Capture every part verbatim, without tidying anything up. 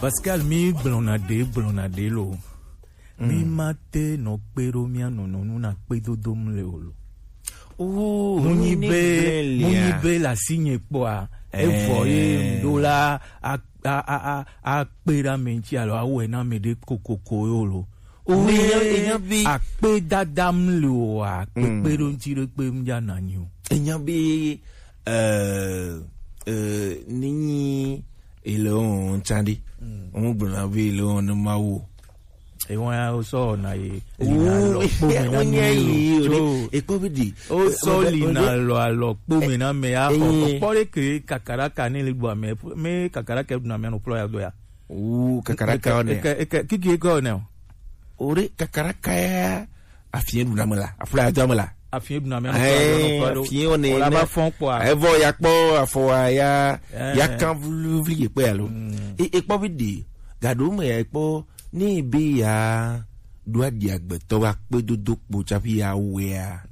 Pascal, mi gblɔna ɖe gblɔna ɖe lo. Mi ma te nɔ kpe ɖo mia nɔnɔ nu na kpe dodom le o lo. Oh, mu nyi be mu nyi be la si nye kpɔa, evɔ ye ŋɖo la a a a a akpe ɖe ame ŋuti alo awɔe na ame ɖe kokoko yo lo. Owe akpe dadam le o a kpekpe ɖo ŋuti ɖe kpe ŋdza na nyi o. Enya be eh eh ni nyi ele o ŋtsa ɖe. Ŋu gblɔna be ele o ne ma wo. Ewa ya wo sɔ na ye lina lɔ kpome na mi lo tso. Ekpɔ be di. O sɔ lina lɔ alɔ kpome na me ya xɔ kpɔ ɖe ke kakaraka ne le gbɔ ame me kakaraka ɖuna me anɔ kplɔ ya do ya. Wu kakaraka one. Eke eke kiki eke one o. Ore kakaraka ya afie ɖuna me la afla ya do me la. Afie ɖuna me anɔ kplɔ ya do. Afie one. Ola ba fɔn kpɔ a. Evɔ ya kpɔ afɔ wa ya ya kan vluvli ye kpɛ alo. Ekpɔ be di gaɖo me ya ekpɔ. Ne be ya ɖo aɖi agbetɔ wa kpedodo kpo tsaƒi ya wea.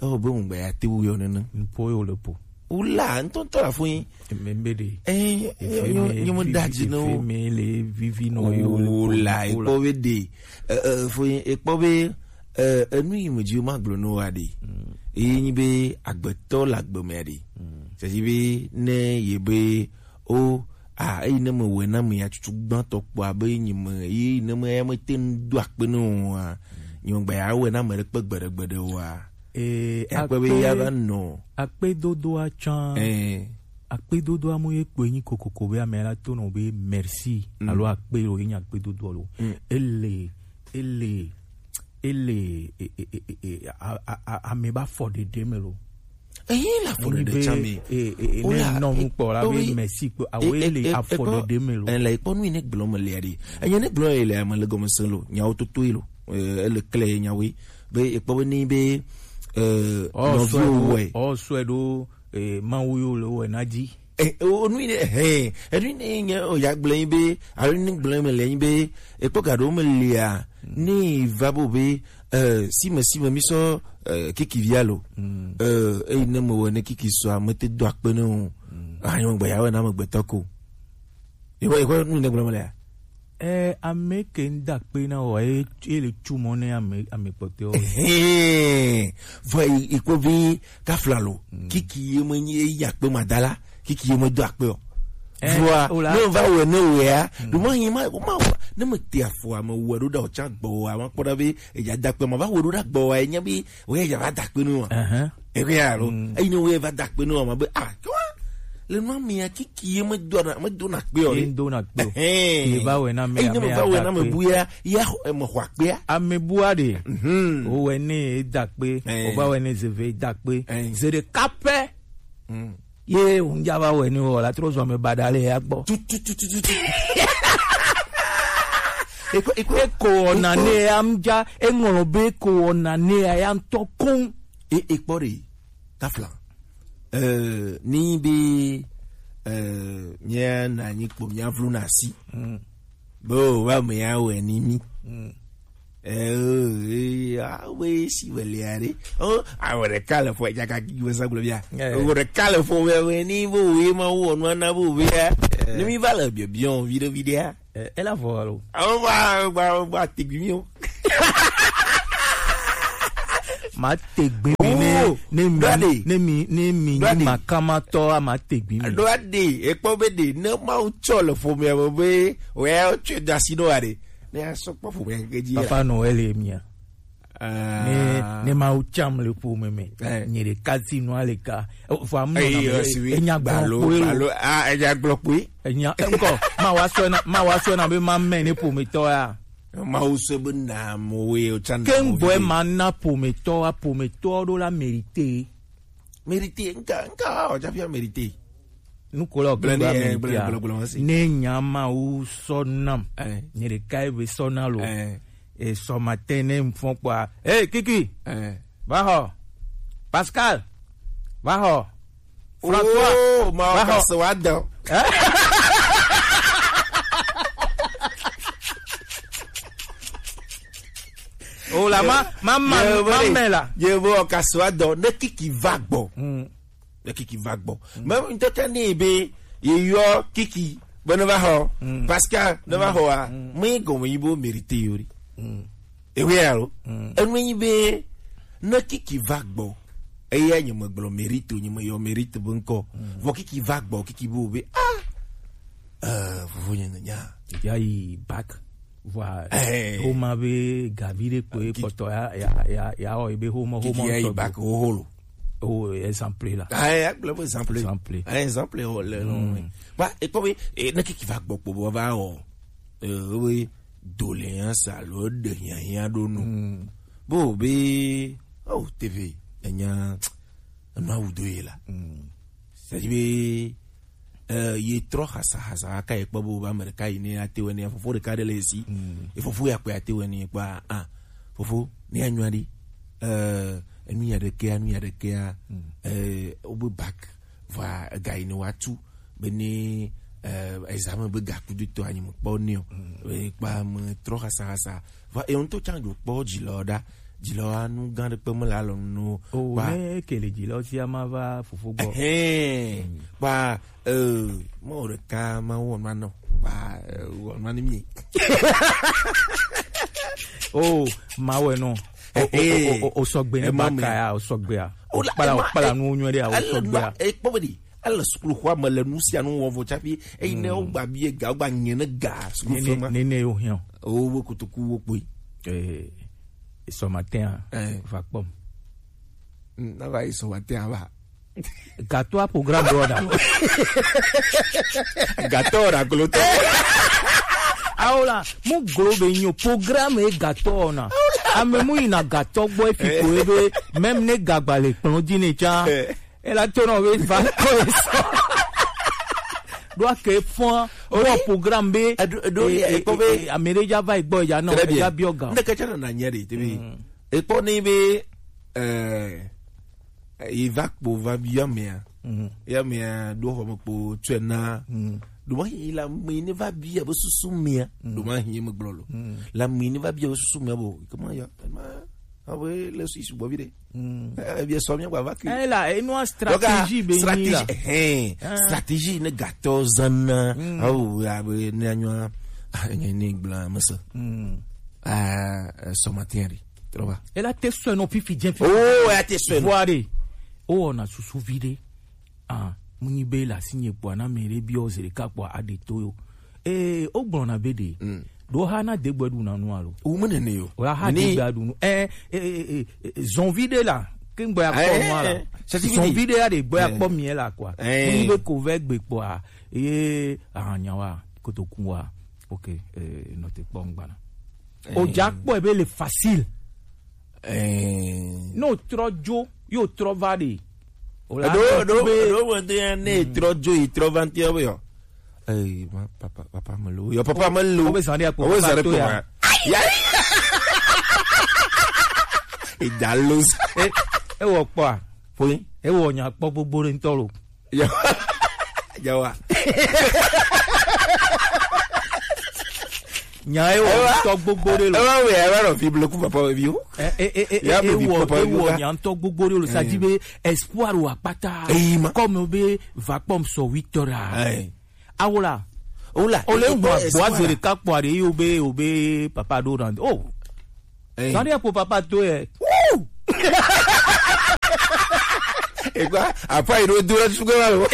Ewɔ be ŋugbe ya te wu yɔ nene. Nuƒo yo le po. Wula ŋutɔŋutɔ la fo yin. Eme be de. Eh, nyɔ nyɔ me da dzi no. Eme le vivi no yo le po. Wula ekpɔ be de. Eh, eh, fo yin ekpɔ be eh, enu yi me dzi ma gblɔ no wa de. Eye nyi be agbetɔ le agbe me de. C'est-à-dire be ne ye be o a eyi ne me wɔe na ame ya tutu gbãtɔ kpɔ abe nye me eyi ne me ya me te ŋu do akpe ne o a nye me gba ya wɔe na ame ɖe kpe gbeɖe gbeɖe o a ee akpe be ya va nɔ akpe dodoa tsã ee akpe dodoa mo ye kpɔe nyi kokoko be ame la to nɔ be merci alo akpe lo ye nya akpe dodoa lo ele ele ele e- e- e- e- e- a- a- a- ame ba fɔ ɖeɖe me lo Eyin le afɔɖeɖe tsã me. Wole nɔ nu kpɔ la be mɛsi kpɔ awo le afɔɖeɖe me lo. Ele ekpɔ nu yi ne gblɔ me le ɖe. Enye ne gblɔ le ame le gɔme se lo. Nyawo toto yi lo. Ele kle nyawo be ekpɔ be ni be nɔviwo wɔe. Ɔ sɔe ɖo mawu yo le wɔe na dzi. Eh, o nu yi ne eh, enu yi ne nye o ya gblẽ yi be alo ne gblẽ me le yi be ekpɔ ga ɖewo me lia ne va bo be eh, sime sime mi sɔ eh, kiki via lo eh, eyi ne me wɔ ne kiki sɔ ame te do akpe ne o anyo gbe ya wɔ na me gbetɔ ko. Ekpɔ ekpɔ nu yi ne gblẽ me lia. Eh, ame ke ŋda kpe na wɔ ye ye le tsu mɔ ne ame ame kpɔtɔewo. Hɛn vɔ ikpɔ vi kafla lo kiki ye me nyi eyi akpe ma da la kiki ye me do akpe o. Vɔa ne va wɛ ne wɛa ɖo ma yi ma ma wa ne me te afɔ ame wɛ ɖo da o tsa gbɔ o a ma kpɔ ɖa be eya da akpe ma va wɛ ɖo da gbɔ o a enya be wɛ eya va da akpe ne o a. Eke ya lo eyi ne wɛ va da akpe ne o a ma be a kɔ le nua mea kiki ye me do na me do na kpe o ye do na kpe o ye ba wɛ na me eyi ne me va wɛ na me bu ya ya me xɔ akpea ame bua de o wɛ ne e da kpe o ba wɛ ne zeve e da kpe ze ɖeka pɛ ye o ŋdza va wɛ ne o la trɔ zɔ me ba da le ya gbɔ tututututu eko eko eko ɔna ne ya ŋdza eŋlɔ be eko ɔna ne ya ya ŋtɔ koŋ e ekpɔ de tafla. Eh, ni be eh, mia na nyi kpo mia vlu na si. Mm. Bo wa me ya we ni mi. Mm. Eh, eh, ah, we si we le are. Oh, a we de kale fo ja ka ki we sa glo bia. Eh. We de kale fo we we ni bo we ma wo no na bo we. Eh. Ni mi va le bio bio video video. Eh, ela vɔ alo. Awo ba ba ba tegbi mi o. Ma tegbi mi ne ne mi ne mi ne mi ni ma kama tɔ a ma tegbi mi. Ɖo aɖe ekpɔ be ɖe ne mawu tsɔ le ƒomea me be wòya tsɔe do asi ɖo aɖe ne asɔ kpɔ ƒomea keke dzi. Papa Noel ye mia. Ne ne mawu tsam le ƒome me nye ɖeka ti nua le ka fo amu na me enya gblɔ kpoe lo enya gblɔ kpoe enya ŋkɔ ma wa sɔ na ma wa sɔ na be ma mɛ ne ƒometɔ ya mawu sɔ be na mo we o tsa na ke ŋgbɔe ma na ƒometɔ wa ƒometɔ ɖo la mérité mérité nka nka wa o tsa fia mérité nuko la o ke gba mérité a ne nya mawu sɔ nam nye ɖeka ye be sɔ na lo. Et ce matin, ne me font quoi? Hey, Kiki! Va ho! Pascal! Va ho! François! Oh, ma va ho! Wa dan. Oh la, ma, ma, ma, ma, ma, la. Ye vo ka so wa dan. Ne Kiki va gbɔ. Ne Kiki va gbɔ. Même une tête ni be ye yo Kiki. Be ne va xɔ. Mm. Parce que ne va xɔa, mm, mm, me gɔme yi bo mérité yori. Mm. Ewe alo. Mm. Enu yi be ne kiki va gbɔ. Eya nye me gblɔ mérite, nye me yɔ mérite be ŋkɔ. Mm. Vɔ kiki va gbɔ, kiki bo be, ah. Euh, vovo nye nya. Ya yi bac. Voilà. Eh. O ma be gavi de kpe kɔtɔ ya, ya, ya, ya, o be homo, homo. Kiki ya yi bac o holo. O exemple la. Ah, ya gblɔ be exemple. Exemple. Ah, exemple o le no. Mm. Ba, e kpɔ be, e, ne kiki va gbɔ kpo bo va o. Euh, oui, doléance alo ɖe hiahiã ɖo nu. Mm. Bo be, oh, T V, enya, enu awu do ye la. Mm. C'est-à-dire be, euh, ye trɔ xasa xasa aka ye kpɔ bo ba ame ɖeka yi ne ate wɛ ne fofo ɖeka ɖe le esi. Mm. E fofo ya kpe ate wɛ ne kpa, ah, fofo, ne ya nyua ɖi. Euh, enu ya ɖekea, enu ya ɖekea, mm, euh, o be bac. Vɔa ega yi ne woatu be ne, eh, examen be gakudutɔ anyi mekpɔ nɛ o. Mm. Be kpa me trɔ xasahasa. Vɔa ewo ŋutɔ tsã dzo kpɔ dzilɔ ɖa. Dzilɔ anu gã ɖe kpe me le alɔ nu o. O kpa ne ke le dzilɔ sia ma va fofo gbɔ. Ɛhɛn. Mm. Kpa, eh, ma wo ɖeka ma wɔ ma nɔ. Kpa, eh, wɔ ma ni mi. O ma wɔ nɔ. O, o, o, o, o sɔgbe ne ba ka ya, o sɔgbe ya. O la, kpala, o kpala nu nyuie ɖe ya, o sɔgbe ya. E kpɔ be ɖi. Ele sukuxɔa me le nu sia nu wɔm vɔ tsaƒe eyi ne wogba bie ga, wogba nye ne ga sukuxɔ ma. Nene yo hiã. O wo kotoku wo kpoi. Eh, ce matin, eh, va kpɔm. Mm, na va yi ce matin va. Gatɔa programme ɖo da. Gatɔ da glo to. Awo la, mu glo be nyo programme e gatɔ na. Ame mu yina gatɔ gbɔ efi ko ebe, même ne gagba le kplɔn dzi ne tsa. Eh. Ela to nɔ be va kɔ esɔ. Ɖo ake fɔn wɔ programme be. Eɖo, eɖo, e, e, ekpɔ be e, e, ame ɖe dza va egbɔ ya nɔ, très bien, ya biɔ ga. Ŋɖeke tsɛ nana nyɛ ɖe, te be. Mm. Ekpɔ ni be, eh, yi va kpo va bia mea. Mm. Ya mea ɖo xɔ me kpo tsɔe na. Mm. Ɖo ma yi la me ne va bia be susu mea. Mm. Ɖo ma yi me gblɔ lo. Mm. La me ne va bia be susu mea bo. Comment ya? Ma, ah oui, le suis sugbɔ vi ɖe. Mm. Eh, bien sûr, bien, va que. Eh, là, et nous, stratégie, donc, ah, ben, stratégie, là. Hein, ah, stratégie, ne gâteau, zana. Mm. Ah, oui, ah, oui, ne, ne, ah, ne, ne, blanc, mais ça. Mm. Ah, euh, ce matin, ri. Tu vois. Et là, t'es seul, non, fifi, bien, fifi. Oh, ouais, t'es seul. Voilà. Oh, on a sous-, sous-vidé. Ah, mu nyi be le asinye kpoa, na ame ɖe biɔ zi ɖeka kpoa, aɖe to yo. Ee, wogblɔna be ɖe, mm, ɖo ha na degbɔe ɖuna nu alo? Wo me nene yo. Wo ya ha degbɔe ɖu nu. Eh, eh, eh, eh, eh, zɔnvi ɖe la, ke ŋgbɔ ya kpɔ nu ala. Eh, eh, eh. Zɔnvi ɖe ya ɖe gbɔ ya kpɔ mi la kɔa. Eh. Mu nyi be ko vɛ gbe kpɔa, ye ahanya wa, kotoku wa. Ok, eh, nɔte kpɔ ŋgbana. Eh. O dza kpɔe be le facile. Eh. Ne o trɔ dzo, ye o trɔ va ɖe. O la ɖo, ɖo, ɖo, me de ne e trɔ dzo, e trɔ va ŋuti, be yɔ. Eh, ma, papa, papa me lo. Yɔ, papa me lo. O be zan ɖe akpɔ, o be zan ɖe akpɔ ya. Ya. E da lo. E, e wɔ kpɔa? Fo yi. E wɔ nya kpɔ gbogbo ɖe ŋutɔ lo. Yawa. Yawa. Nya ye wɔ ŋutɔ gbogbo ɖe lo. Ewa wɛ, ewa nɔ fi bleku papa wɛ vi o. Eh, eh, eh, eh, ya eh, bleku papa wɛ vi o. Nya ŋutɔ gbogbo ɖe lo. Sa di be espoir wa kpata. Eh, ma. Comme be va kpɔm sɔ huit heures. Eh. Awola. Ola. Ole ŋu agbo azere kakpɔ aɖe yi o be, o be papa ɖo na. Oh. Eh. Sani akpo papa to ye. Woo! Egba, apa yi ɖo do la sugbɔ ma lo.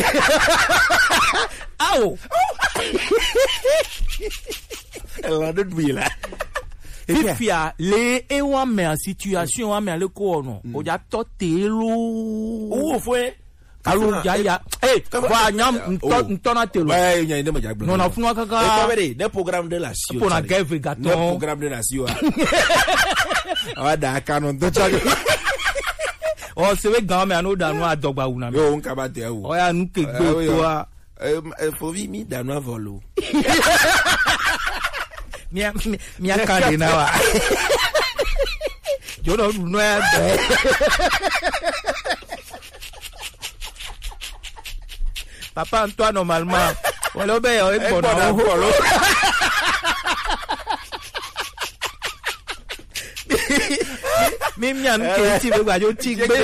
Awo. Ela ɖo du yi la. Fifia le ewa mea situation wa mea le ko ono. Mm. O ja to te lo. Wo fue. Alo, ya, ya. Eh, wa nya ntɔ, ntɔ na te lo. Ouais, nya ine ma ja gblɔ. Non, na funu kaka. Eh, pas vrai, des programmes de la sio. Pour na gave gaton. Des programmes de la sio. Awa da ka no ntɔ tsa. O se be gan me anu da nu adɔgba wu na me. Yo, nka ba te o. O ya nu ke gbe to a. Eh, eh, fovi mi da nu avɔ lo. Mia, mia, mia ka de na wa. Jo no nu ya. Papa Antoine, normalement. Wala o be yo e gbɔna o. Mi, mi anu ke ti be gbajo ti gbe.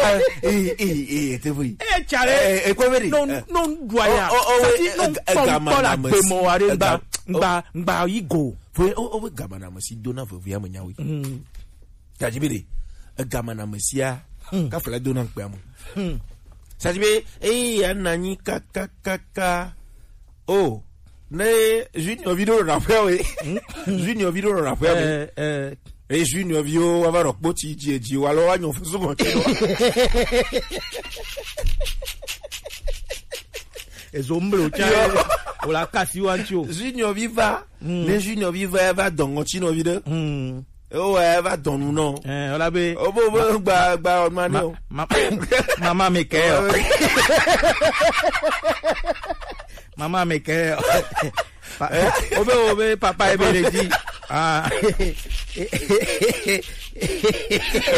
Eh, eh, eh, eh, te fu yi. Eh, chale. Eh, eh, ko be de. No, eh, no, ndwa ya. Oh, oh, oh, sati eh, no eh, eh, gama kpɔnkpɔ la na gbe mɔ wa de ega- ngba, ngba, ngba yi go. Fo, o, o, gama na me si dona veve ya me nya we. Mm. Tadi be de, egama na me sia, mm, kafla dona nkpe amo. Mm. Tadi be, eh, ya na nyi ka, ka, ka, ka. Oh, ne Junior video na fwe we. Mm. Junior video na fwe we. Eh, eh. Eh, Junior video wa va ro kpoti ji, ji, wa lo wa nyo fusu mo ti lo. Ezo mblo cha. Yo. O la kasi wa ncho. Junior viva. Mm. Ne Junior viva ya va dongo chino vide. Mm. O wa ya va donu no. Eh, o la be. O bo, bo, gba, gba, o ma ni o. Ma, ma, mama mi ke o. Mama mi ke o. Pa- Eh? Obe, obe, papa ebele di. Ah.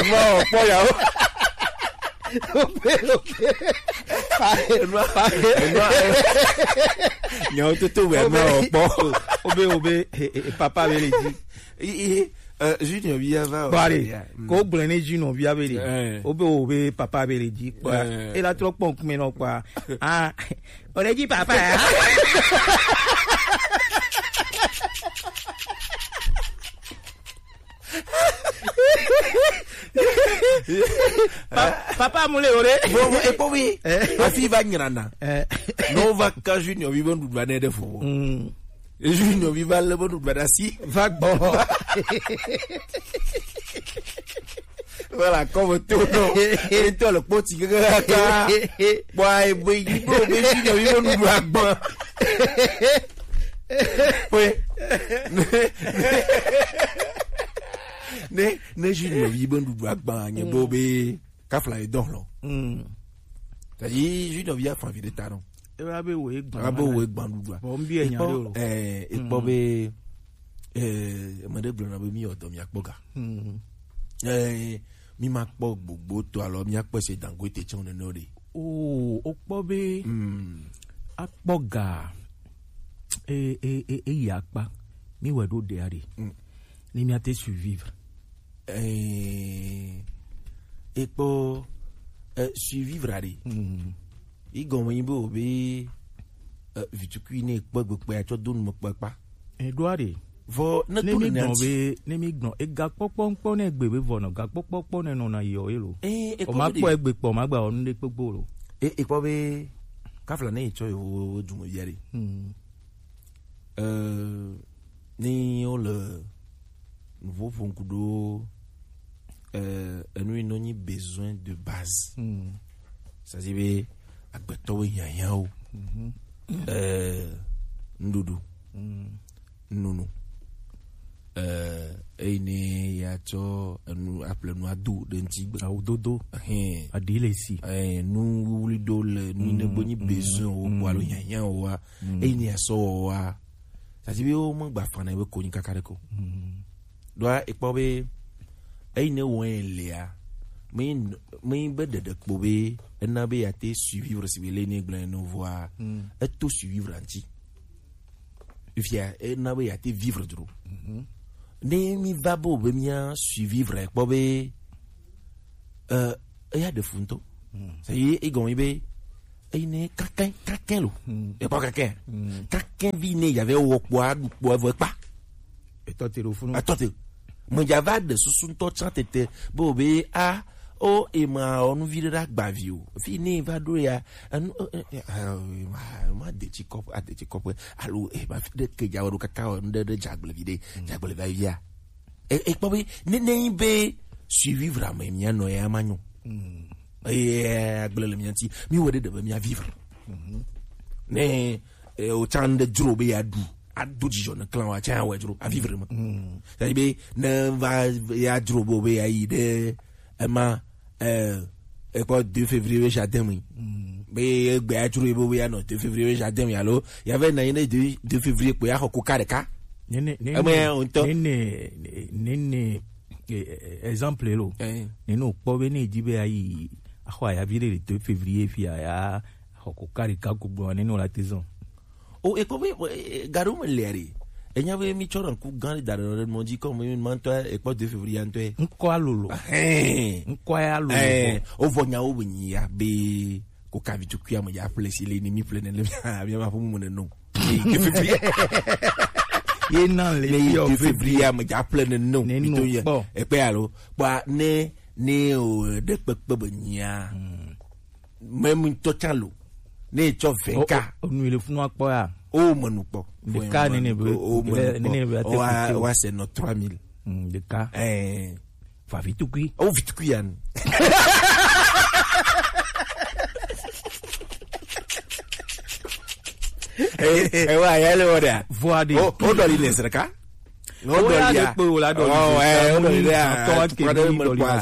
Mo po ya o. Obe, obe. Pa- Enua, pa- enua, eh. Nyawo toto we Obe. Enua opo. Obe, obe, eh, eh, papa ebele di. I, i, eh, Junior bi ya va o. Bari, ya. Mm. Ko gblẽ ne Junior bi abele. Eh. Obe, obe, papa ebele di. Kwa. Eh. E la trɔ kpɔn kume nɔ kwa. Ah. O le di papa, eh? Pa- papa mu le o le. Bon, bon, e po wi. Eh. Afi va nyina na. Eh. No va ka Junior bi bon du ne de fo. Mm. E Junior bi va le bon du da si. Va gbɔ. Voilà, comme tout, non. Et toi, le petit gars, boy, boy, il faut que je lui donne le agba. Oui. Ne, ne Junior bi bon du agba, nye bo be, kafla e don lo. Mm. C'est-à-dire, Junior bi a fa vi de ta non. E wa be wo e gban. Wa be wo e gban du. Bon, bien, nya lo. Eh, e po be, eh, me de gblɔ na be mi o do mi akpɔ ga. Mm. Eh, mi ma kpɔ gbogbo to alɔ mi akpɔ se Dangote tsɔn nene o de. O, o kpɔ be. Mm. Akpɔ ga. E, e, e, e yi akpa. Mi wɛ ɖo ɖe aɖe. Mm. Ni mi ate survivre. Eh, e kpɔ, eh, survivre aɖe. Mm. Yi gɔme nyi be o be, eh, vitukui ne kpɔ gbe kpɛ atsɔ do nume kpɔ kpa. Eɖo aɖe. Vɔ ne ne to mi ne gbɔn anti. Be, ne mi gbɔn, ega kpɔkpɔ ŋkpɔ ne gbe be vɔ nɔ, ga kpɔkpɔ kpɔ ne nɔ na yɔ ye lo. Eh, e o ma kpɔ be kpɔ egbe kpɔ, ma gba ɔnu ɖe kpegbo lo. E, e kpɔ be, kafla ne yi tsɔ yo dume via ɖe. Hmm. Euh, ni wo le nuƒo ƒom ku ɖo, euh, enu yi nɔ nyi besoin de base. Hmm. C'est-à-dire be agbetɔwo hiahiãwo. Mhm. Euh, nuɖuɖu. Hmm. Nunu. Euh, eyi ne ya tsɔ enu aƒle nu ado ɖe ŋuti gbe. Awu dodo. Ɛhɛn. Aɖi le si. Ɛhɛn, nu wuwli ɖo le nu yi ne gbe nyi besoin wo kpɔ alo hiahiã wo wa. Mm. Eyi ne ya sɔ wɔ wa. Tati be wo me gba fa na be konyi kaka ɖe ko. Mm. Ɖoa ekpɔ be eyi ne wɔ ye lea, me me be ɖeɖe kpo be ena be ya te survivre si be le ne gblẽ no voa. Mm. Eto survivre ŋuti. Fia ena be ya te vivre dro. Mhm. Ne mi va be o be mia survivre kpɔ be, euh, eya ɖe fu ŋutɔ. Mm. Ça y est, egɔme be eyi ne kakɛ kakɛ lo. Mm. Ekpɔ kakɛ. Mm. Kakɛ vi ne ya vɛ wɔ kpɔ aɖu kpɔ evɔ ekpa. Etɔ te ɖo funu. Etɔ te. Me ya va ɖe susu ŋutɔ tsã tete be o be a o ema ɔ nu vi ɖe ɖe agbavi o. Fi ne va ɖo ya enu e, e, e, e, ma ma de tsi kɔƒe ade tsi kɔƒe alo e ma fi ɖe ke dza wɔ ɖo kaka wɔ nu ɖe ɖe dze agble vi ɖe dze agble va via. E e kpɔ be ne ne nyi be survivre ame mia nɔ ya ma nyo. Eye agble le mia ŋuti mi wɔ ɖe ɖe be mia vivre. Ne e o tsa nu ɖe dzro be ya ɖu ado dzidzɔ ne clan wa tsa ya wɔ dzro a vivre me. Tadi be ne va ya dzro be o be ya yi ɖe ema eh, ekpɔ deux février be jardin me. Be egbe adzro ebe ya nɔ deux février be jardin me alo ya ve na yin deux février kpo ya xɔ koka ɖeka. Nene nene eme ya ŋutɔ nene nene eh, eh, exemple lo. Eh. Nene o kpɔ be ne di be ayi axɔ ayavi ɖe le deux février fi ya ya xɔ koka ɖeka ko gbɔ nene o la te zɔn. O ekpɔ be eh, gaɖo me le ɖe Enya be mi tsɔ ɖe ŋku gã ɖe da ɖe ɖe mɔ dzi kɔ me mi ma ŋutɔ ekpɔ deux février ŋutɔ. Ŋkɔ alolo. Ɛhɛn. Ŋkɔ ya lolo. Ɛɛ, o vɔ nyawo be nyi ya be ko ka vitukui ame dza ƒle si le ni mi ƒle ne le mi mi ma ƒe mu ne no. Ye deux février. Ye na le ne ye deux février ame dza ƒle ne no. Ne mi no to ye. Kpɔ. Ekpe alo. Kpɔ ne ne o ɖe kpekpe be nyi ya. Hmm. Mɛ mi tɔ tsa lo. Ne etsɔ vɛ ka. O, o, o nu le funu akpɔ ya. O mɛ nu kpɔ. Ɖeka nene be, o mɛ nu kpɔ. Nene be ate kuku. Wa se nɔ trois mille. Mm, ɖeka. Ɛɛ. Fa vitukui. O vitukui ya nu. Ɛ, ɛ, wa ya le wɔ da. Vɔ aɖe. O, o dɔ li le zreka. Oya ɖe kpe wòle aɖɔ yi. Ɛ, o dɔ li ɖe a, tukpa ɖe me kpa.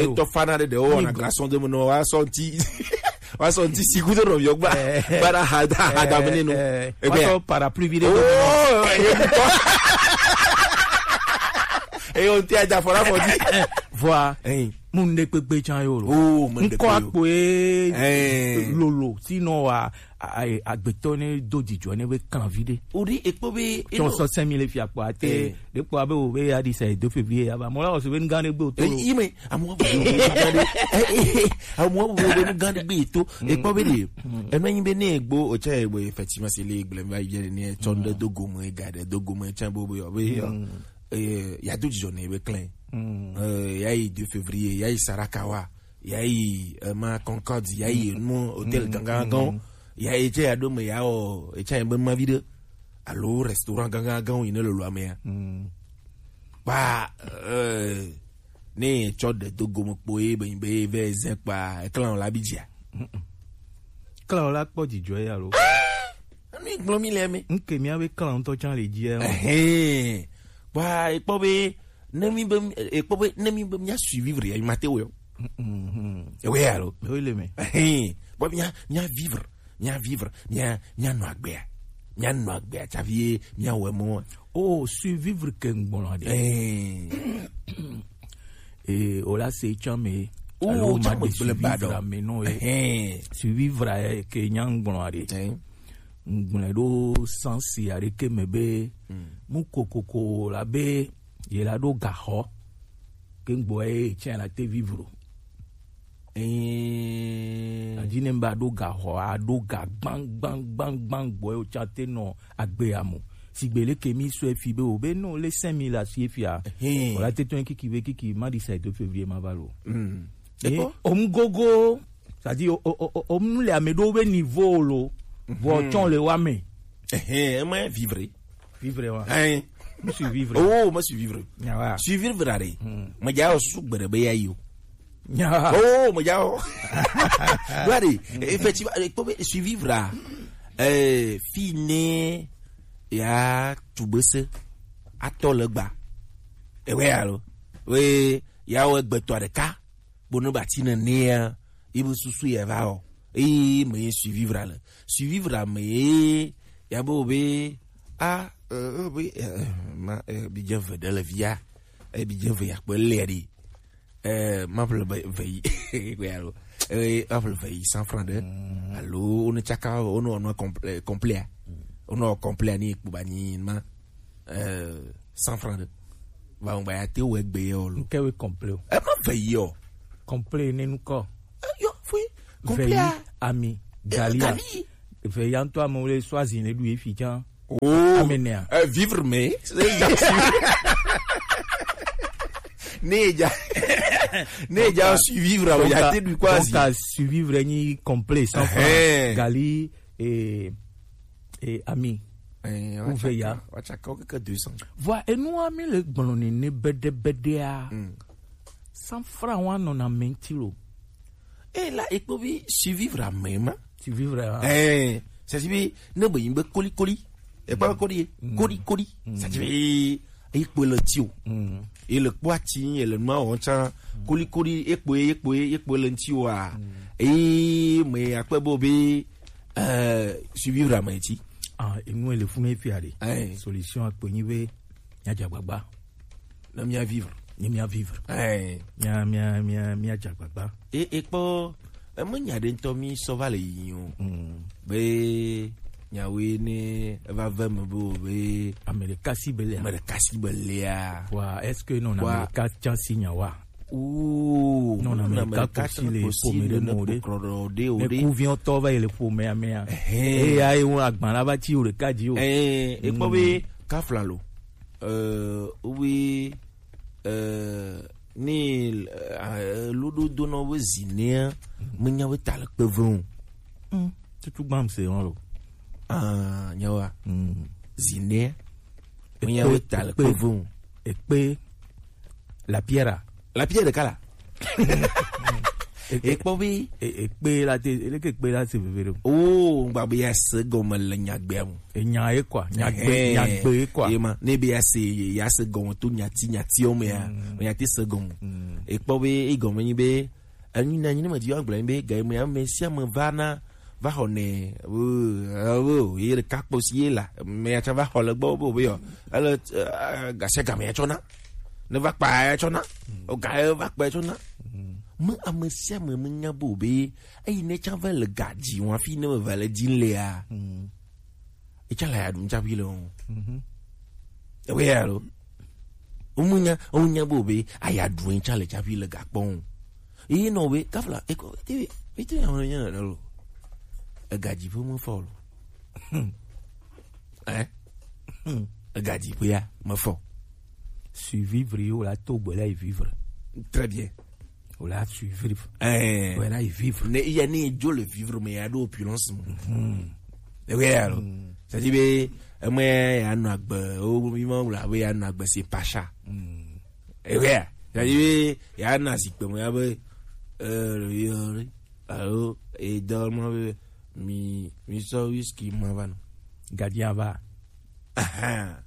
Etɔ fana ɖe ɖe o na garçon de me no wa sɔnti. Wa sɔnti si kudo no yɔgba. Bara ha da ha da me no. Wa sɔ parapluie vi ɖe. Oh, e ko. E o ti aja fora fo di. Vɔa. Ɛn. Mu ne kpekpe tsan yo lo. Oh, mu ne kpekpe. Ŋkɔ akpo ye. Ɛn. Lolo, sinon wa. A-, a-, agbetɔ ne do dzidzɔ ne be kan vi ɖe. O ɖi ekpɔ be tsɔ sɔ sɛmi le fia kpɔ ate. Eh. Ɖe kpɔ abe o be ya di sa edo fe vi ya ba mɔ la o se be nu gã ɖe gbe o to lo. Yi me amu abu be nu gã ɖe. Amu abu be nu gã ɖe gbe to. Ekpɔ be ɖe. Enu anyi be ne egbo o tsɛ egbo effectivement se le gble va yi ne tsɔ ɖe do gome ga ɖe do gome tsɛ bo be yo be yo. Eh, ya do dzidzɔ ne be klɛn. Eh, ya yi deux février ya yi Sarakawa. Ya yi, eh, ma Concorde, ya yi nu hôtel gangan gan. Ya yi tse ya ɖo me ya o, etsa yi be ma vi ɖe. Alo restaurant gangan gan yi ne lolo ame ya. Ba, eh, ne tsɔ ɖe do gome kpo ye be be ve ze kpa eklan la bi dzia. Klan la kpɔ dzidzɔ ya lo. Enu gblɔ mi le me. Nke mia be klan ŋutɔ tsa le dzia. Ɛhɛn. Ba ekpɔ be ne mi be, ekpɔ be ne mi be mia survivre ya mate wo. Ewe ya lo. Ewe le me. Ɛhɛn. Bon, mia, mia vivre, mia vivre, mia, mia nɔ agbea. Mia nɔ agbea tsavi mia wɛ mo. Oh, survivre ke ŋgbɔnɔ de. Ɛhɛn. Eh, o la se tsɔ me. Oh, alo ma tsɔ me de gblẽ ba survivre dɔ. Me no e. Ɛhɛn. Survivre ke nya ŋgbɔnɔ de. Ɛhɛn. Ŋgblẽ ɖo sansi aɖeke me be mu kokoko la be ye la ɖo gaxɔ ke ŋgbɔ ye tsɛ la te vivre o. Adi ne ba ɖo gaxɔ a ɖo ga gbangbangbangban gbɔ ye tsɛ te nɔ agbe amu sigbe leke mi sɔe fi be o be no le cinq mille asi efia. O la te tɔn kiki be kiki ma di sa edo février ma va lo. Ye o mu gogo. C'est-à-dire, o, o, o, o mu le ame ɖewo be niveau lo, vɔ tsɔ le wa me. Ɛhɛn, ema vivre. Vivre wa. Ɛhɛn. Mu survivre. Oh, ma survivre. Nya wa. Survivre are. Me ja o su gbere be ya yo. Nya wa. Oh, me ja o. Gbere, effectivement, eh, kpɔ be survivre a. Eh, fi ne ya tubese atɔ le gba. Ewe alo. We ya o gbetɔ ɖeka. Bo ne ba ti ne nea, ye be susu ye va o. Eye me ye survivre le. Survivre me ye, ya be o be, a, eh, o be, eh, ma, eh, bi dze ve ɖe le via. Eh, bi dze ve ya kpe le ɖi. Eh, ma ƒle ve, ve yi. Kpe alo. Eh, ma ƒle ve yi cent francs ɖe. Alo, o ne tsaka, o ne, o ne complet, complet. O ne complet ni kpo ba ni ma. Eh, cent francs ɖe. Va ŋgba ya te wɔ egbe ye o lo. Nke we complet o. E ma ve yi o. Complet ne nu kɔ. Eh, yo, fui. Complet. Ve yi, ami, eh, galia. Gali. Ve ya ŋutɔ amewo le sɔ azi ne ɖu ye fi tsã. Oh. Ame nea. Eh, vivre mais. Ne ja. Ne ja survivre, donc, ya te du quoi. Donc, survivre ni complet, cent francs. Gali, eh, eh, ami. Eh, ouvert ya. Watsaka, watsaka keke deux cents. Vɔa, enua mi le gblɔ nene bede bedea. Mm. Cent francs wa nɔna menti lo. Eh, la, ekpo bi survivre ame ma. Survivre, ah. Eh, c'est-à-dire, ne be yimbe koli koli. Ekpo koli, koli koli. C'est-à-dire, ekpo le ti o. Mm. E le kpo ati, e le nua o tsa. Koli koli, ekpo, ekpo, ekpo le ti o a. Mm. E, me akpe bo be, eh, survivre ame ti. Ah, enu ele funu efi aɖe. Eh. Solution akpe nyi be, mia dza agbagba. Ne mia vivre. Ne mia vivre. Eh. Mia, mia, mia, mia dza agbagba. E, ekpɔ, eme nya ɖe ŋutɔ mi sɔ va le yi o. Mm. Be, Nyawoe ne eva ve me be o be ame ɖeka si be lea. Ame ɖeka si be lea. Wa, est-ce que non? Wa, ame ɖeka tsa si nya wa? Oo, non, ame ɖeka ko si le ƒome ɖe me o ɖe. Ne kuviɔtɔ va yi le ƒomea mea. Eya ye wo agba la va tsi o ɖeka dzi o. Ekpɔ be kafla lo. Wi, ni luɖo donɔ be zinea menya be ta le kpe ve o. Tutu gbam se ŋɔ lo. Ah, nyawa. Zinea menya be ta le kpe ve o. Ekpe la piera. La piera ɖeka la. Ekpɔ be ekpe la te, eleke kpe la se veve ɖo. O, ŋgba be ya se gɔme le nyagbea mu. Enya ye kwa, nyagbe, nyagbe ye kwa. Ye ma, ne be ya se, ya se gɔme to nyati, nyati o me ya, nyati se gɔme. Ekpɔ be egɔme nyi be, enyi na nyi ne me di wa gblɔ nyi be ga me ame sia ame va na, va xɔ nɛ, wo ye ɖeka kpɔ si ye la, me ya tsa va xɔ le gbɔ be o be yɔ, ele gasia game ya tsɔ na, ne va kpa ya tsɔ na, o ga ye va kpa ya tsɔ na. Me ame sia ame me nya be o be eyi ne tsa va le ga dzi wa fi ne me va le dzi lea. Etsa la ya ɖu ŋtsaƒi le ŋu. Ewe ya lo. Womunya, womunya be o be aya ɖu ŋtsa le tsaƒi le gakpɔ ŋu. Eye nɔ be kafla eko ete ete ya ŋlɔ nya nɔ lo. Egadzi ƒe me fɔ lo. Eh? Egadzi ƒe ya me fɔ. Survivre yo la to gbe la yi vivre. Très bien. O la survivre. Eh. O la vivre. Ne iya ne dzo le vivre me ya do opulence mo. Mhm. E we ya lo. Mm. C'est-à-dire be eme ya no agbe o mi ma la be ya no agbe c'est pas ça. Mm. E we ya. C'est-à-dire be ya na zikpe mo ya be euh yo alo e do mo be mi mi so whisky mo va no. Gardien va. Aha.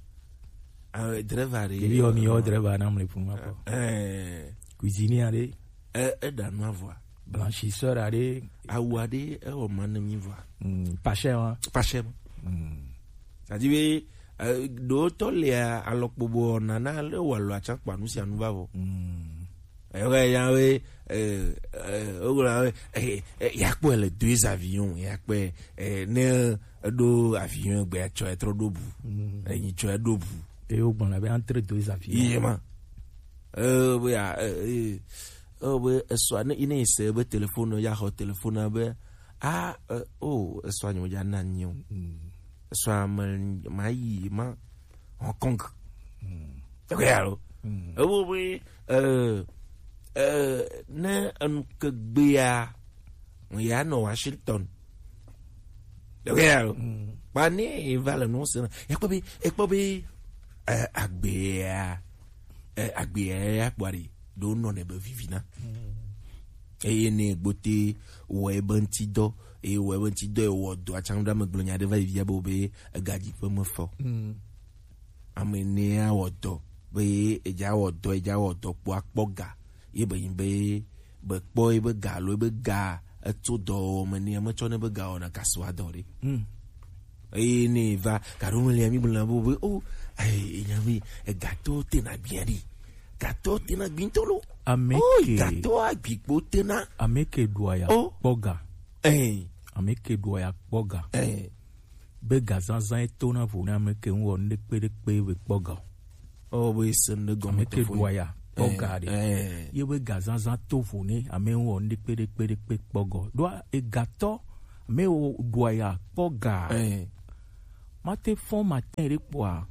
Ah, driver ɖe. Ɖevi yɔ mi yɔ driver na mle funu ma kɔ. Eh. Cuisinier ɖe. Eh, eɖa nu avɔa. Blanchisseur ɖe. Awu ɖe ewɔ ma ne mi vɔa. Mm, pas cher wa. Pas cher. Mm. C'est-à-dire be eh, ɖo tɔ le alɔkpobo nana le wa lo atsa kpa nu sia nu va vɔ. Mm. Ewe ya we eh eh o la we eh eh ya kpɔ le deux avions ya kpɔ eh ne eɖo avion gbe atsɔ etrɔ ɖo bu. Mm. Enyi tsɔ eɖo bu. Eye wogbɔna be entre deux avions. Iye ma. Eh, be ya eh, eh, eh, be esɔa ne ine se be téléphone ya xɔ téléphone be ah eh, oh esɔa nyo ya na nyo. Mm. Esɔa me ma yi ma Hong Kong. Mm. Ewe ya lo. Mm. Ewo be eh eh ne enu ke gbea ya nɔ Washington. Ɖewoe ya lo. Mm. Kpa ne eva le nu se na. Ekpɔ be ekpɔ be eh, agbea eh, agbea ya kpɔ ɖi ɖo nɔ ne be vivina. Mm. Eye ne gbote wɔ ebe ŋuti dɔ eye wɔ ebe ŋuti dɔ ewɔ dɔ atsaŋu ɖe ame gblɔ nya ɖe va yi via be wo be egadzi ƒe me fɔ. Mm. Ame enea wɔ dɔ be edza wɔ dɔ edza wɔ dɔ kpɔ akpɔ ga ye be yin be be kpɔ ye be ga alo ye be ga etso dɔwɔwɔ me nɛ metsɔ ne be ga wɔna kasoa dɔ ɖe. Mm. Eye ne va gaɖo me lia mi gblɔna be be o enya be egatɔ tena gbia ɖi gatɔ tena gbi ŋutɔ lo. Ame ke gatɔ agbikpo tena. Ame ke ɖua ya kpɔ ga. Ame ke ɖua ya kpɔ ga. Be gazazã etona vo ne ame ke ŋu wɔ nu ɖekpe ɖekpe be kpɔ ga o. Oh, be se nu ɖe gɔme. Ame ke ɖua ya kpɔ ga ɖe. Ye be gazazã to vo ne ame ŋu wɔ nu ɖekpe ɖekpe ɖekpe kpɔ ga o. Ɖoa egatɔ ame wo ɖua ya kpɔ ga. Mate fɔn matin ɖe kpɔa.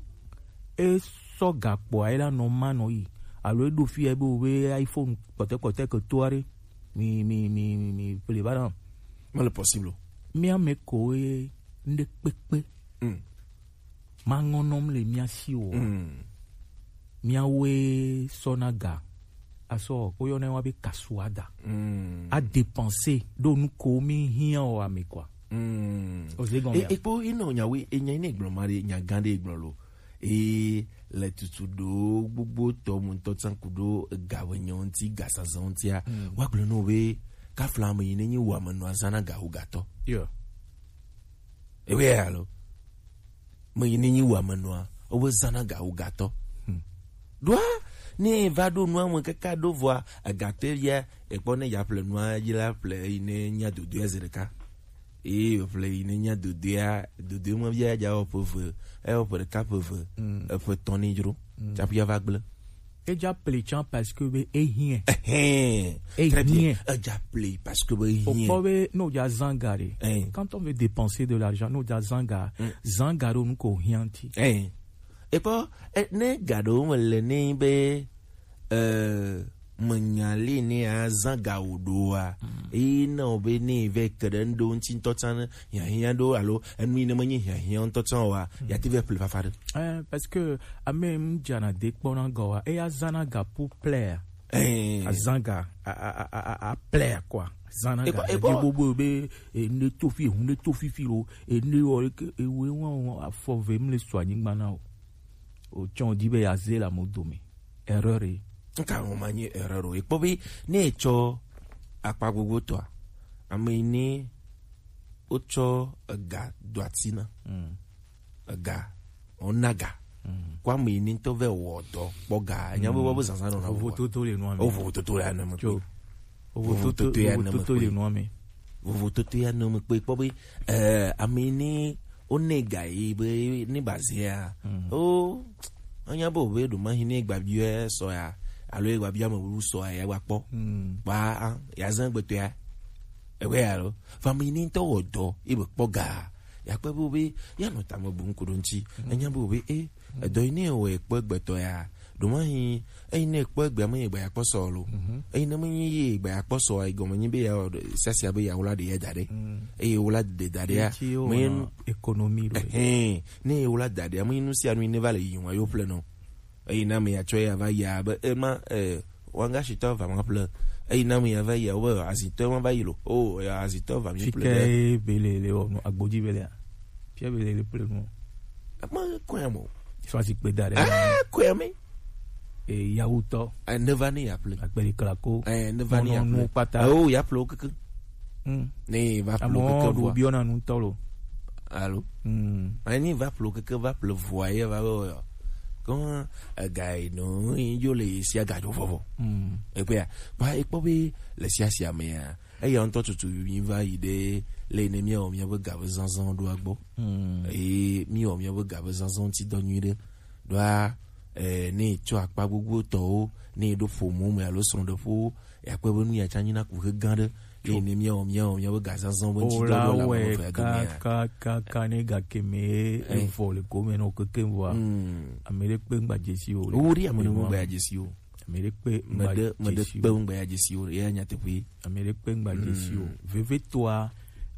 E sɔ ga kpɔa e la nɔ ma nɔ yi. Alo e ɖo fi ya be wo be iPhone kpɔtɛ kpɔtɛ ke toa ɖe. Mi mi mi mi mi ƒle va na. Mele possible o. Mía me koe ŋɖe kpekpe. Mm. Maŋɔnɔm le mía si o. Mm. Míawoe sɔna ga. Asɔ, woyɔnɛ wa be kasuada. Mm. A dépenser ɖo nu ko mi hiã o ame kɔa. Mm. Oze gɔme. E, ekpo ino nyawe, enya ine gblɔ ma ɖe, nya gã ɖe gblɔ lo. E le tutu ɖo gbogbo tɔ mu ŋutɔ tsan ku ɖo ega be nyɔ ŋuti, ga sazan ŋutia. Mm. Wa gblɔ no be kafla ame yi ne nyi wa me nɔ azana ga wo gatɔ. Yo. Ewe ya lo. Me yi ne nyi wa me nɔa, wo be zana ga wo gatɔ. Hmm. Ɖoa, ne va ɖo nua me kaka ɖo vɔa, egatɔ ya, ekpɔ ne ya ƒle nua, yi la ƒle yi ne nya dodo ya zi ɖeka. Eye ƒle yi ne nya dodoea, dodoe ma via dza wɔ ƒe eve, ewɔ ƒe ɖeka ƒe eve, eƒe etɔ̃ ne dzro, tsaƒe ava gblẽ. Edza ple tsã parce que be ehiɛ. Ehɛn. Très bien. Ehiɛ. Edza ple parce que be ehiɛ. Okpɔ be ne wodza zã ga ɖe. Hein. Quand on veut dépenser de l'argent, ne wodza zã ga, zã ga ɖo nu ko hiã ŋuti. Hein. Ekpɔ, e, ne ga ɖewo me le ne be, e, menya li ne azã ga wò ɖoa, eye na wò be ne vɛ ke ɖe ŋɖo ŋuti ŋutɔ tsã ne hiahiã ɖo alo enu yi ne menye hiahiã ŋutɔ tsã oa, ya te vɛ ƒle fafa ɖe. Eh, parce que ame ŋu dzana de kpɔna ga wa, eya zãna ga pour plaire. Eh. Azã ga, a, a, a, a, a plaire quoi. Zãna ga. Ekpɔ, ekpɔ. Edi gbogbo be, e, ne to fi, ehun ne to fifi lo, e, ne wɔ, e, ewe wɔn afɔ ve mle sɔ anyigba na o. O tsɔn di be ya ze la mo dome. Erreur ye. Nka ŋu ma nye erreur o. Ekpɔ be ne etsɔ akpa gbogbo tɔa, ame yi ne wotsɔ ega do ati na. Mm. Ega, wona ga. Mm. Kɔ ame yi ne ŋutɔ vɛ wɔ dɔ kpɔ ga. Enya be, mm, wɔ be zazã nɔ na. Vovototo le nua me. O vovototo le nua me. Tso. Vovototo, vovototo ya ne me kpe. Vovototo ya ne me kpe. Kpɔ be, eh, ame yi ne wonɛ ga yi be ne bazea. Mm. O, anya be o be ɖo ma hi ne gba biɔ sɔ ya, alo gba biɔ ame bu sɔ ya, ya gba kpɔ. Mm. Ba, a, ya zã gbetɔ ya. Ewe ya lo. Fa ame yi ne ŋutɔ wɔ dɔ, e be kpɔ ga. Ya kpɔ be o be, ya nɔ tame bu ŋku ɖo ŋuti. Mm. Enya be o be, e, edɔ yi ne wɔ ekpɔ gbetɔ ya. Ɖo ma hi, eyi ne ekpɔ egbea me ye gba ya kpɔ sɔ lo. Mhm. Eyi ne me nyi ye gba ya kpɔ sɔ, ayi gɔme nyi be ya wɔ ɖe, siasia be ya wla ɖe ya da ɖe. Mm. Eye wla ɖe da ɖe ya. Eti wo me nɔ économie ɖo. Ehɛn, ne ye wla da ɖe ya, me nyi nu sia nu yi ne va le yi wa yo ple nɔ. Eyi na me ya tsɔ ya va ya be, e ma, e, wanga shitɔ va ma ple. Eyi na me ya va ya wo be azitɔ ma va yi lo. O, ya azitɔ va mi ple. Fike bele le o, no, agbodzi bele a. Fia bele le ple no. Ma kɔe mo. Sɔ asi kpe da ɖe. Ah, kɔe mi. E, yawutɔ. Eh, neva ne ya ple. Akpeli klako. Eh, neva ne ya ple. Kpata. Eh, o, ya ple o keke. Hmm. Ne va ple o keke. Amewo ɖo biɔna nu tɔ lo. Alo. Hmm. Eh, ne va ple o keke, va ple vɔa ye va be o yɔ. Kɔn, ega yi no, yi jo le yi sia ga jo vɔvɔ. Hmm. Ekpea, ba ekpɔ be le sia sia me ya. Eya ŋutɔ tutu mi va yi ɖe le ne míawɔ míaƒe ga ƒe zazã ɖoa gbɔ. Hmm. Eye míawɔ míaƒe ga ƒe zazã ŋuti dɔ nyui ɖe. Ɖoa, eh, ne tsɔ akpa gbogbo tɔwo, ne ɖo ƒomo me alo srɔ̃ɖeƒewo, ya kpɔe be nu ya tsã nyina kuxe gã ɖe. Le ne míawɔ, míawɔ míaƒe ga zazã ƒe ŋuti dɔ ɖo le ame eve ya domea. Ka, ka, ka, ne gake me, eh, evɔ le gome nɔ keke vɔa. Hmm. Ame ɖe kpe ŋgba dzesi o. Wo ɖi ame ɖe ŋgba dzesi o. Ame ɖe kpe ŋgba dzesi o. Meɖe, meɖe kpe ŋgba ya dzesi o. Eya nyateƒe. Ame ɖe kpe ŋgba dzesi o. Mm. Vevitɔa,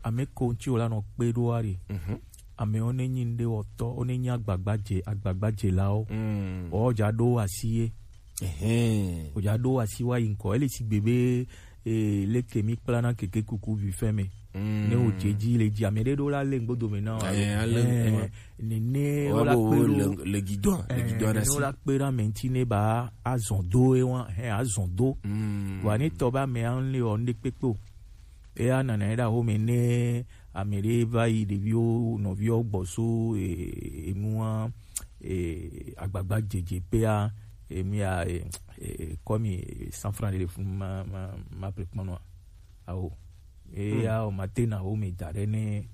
ame ko ŋuti wòla nɔ kpe ɖoa ɖe. Mhm. Amewo ne nyi ŋɖe wɔtɔ, wo ne nyi agbagbadze, agbagbadzelawo. Mm. Wo dza ɖo asi ye. Ehɛn. Wo dza ɖo asi wa yi ŋkɔ. Ele sigbe be, e, leke mi kplana keke kuku vi fɛ me. Mm. Ne wo dze dzi le dzi, ame ɖe ɖo la le ŋgbodo me na wo. Eh, ale, eh, nene wo la kpe ɖo. Le, le gidon, le gidon ɖe asi. Nene wo la kpe ɖe ame ŋuti ne ba azɔn do ye wa, hɛ azɔn do. Mm. Vɔa ne tɔ be ame ŋu le wɔ ŋɖe kpekpe o. Eya nana ye ɖe aho me ne ame ɖe va yi ɖeviwo, nɔviwo gbɔ so, e, enua, e, agbagba dzedze pea, e, mi ya, e, e, kɔ mi, e, cent francs ɖe le funu ma, ma, ma ple kpɔnɔa. Awo. Eya o mate na wo me da ɖe ne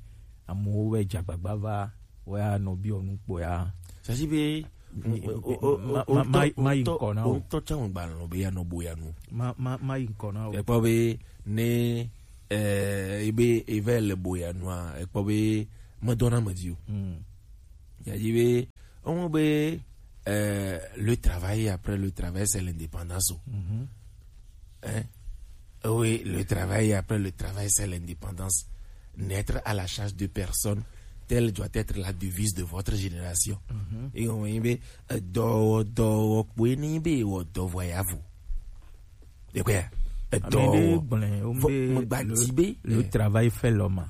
amewo vɛ dze agbagba va, wo ya nɔ biɔ nu kpɔ ya. Sasi be, ma, ma, ma, ma yi ŋkɔ na wo. Ŋutɔ tsã ŋgba lɔ̃ be ya nɔ boya nu. Ma, ma, ma yi ŋkɔ na wo. Ekpɔ be ne, eh, ebe, eve le boya nua, ekpɔ be medɔna me dzi o. Hmm. Ya dzi be, Ewo be, euh, le travail après le travail, c'est l'indépendance o. Mhm. Hein? Oui, le travail après le travail, c'est l'indépendance. N'être à la charge de personne, telle doit être la devise de votre génération. Mhm. Et on y be, euh, dɔwɔ, dɔwɔ, kpoe ni be, wɔ dɔwɔ ya vo. De quoi? Ame ɖe gblɔe, wome be le, le travail fait l'homme.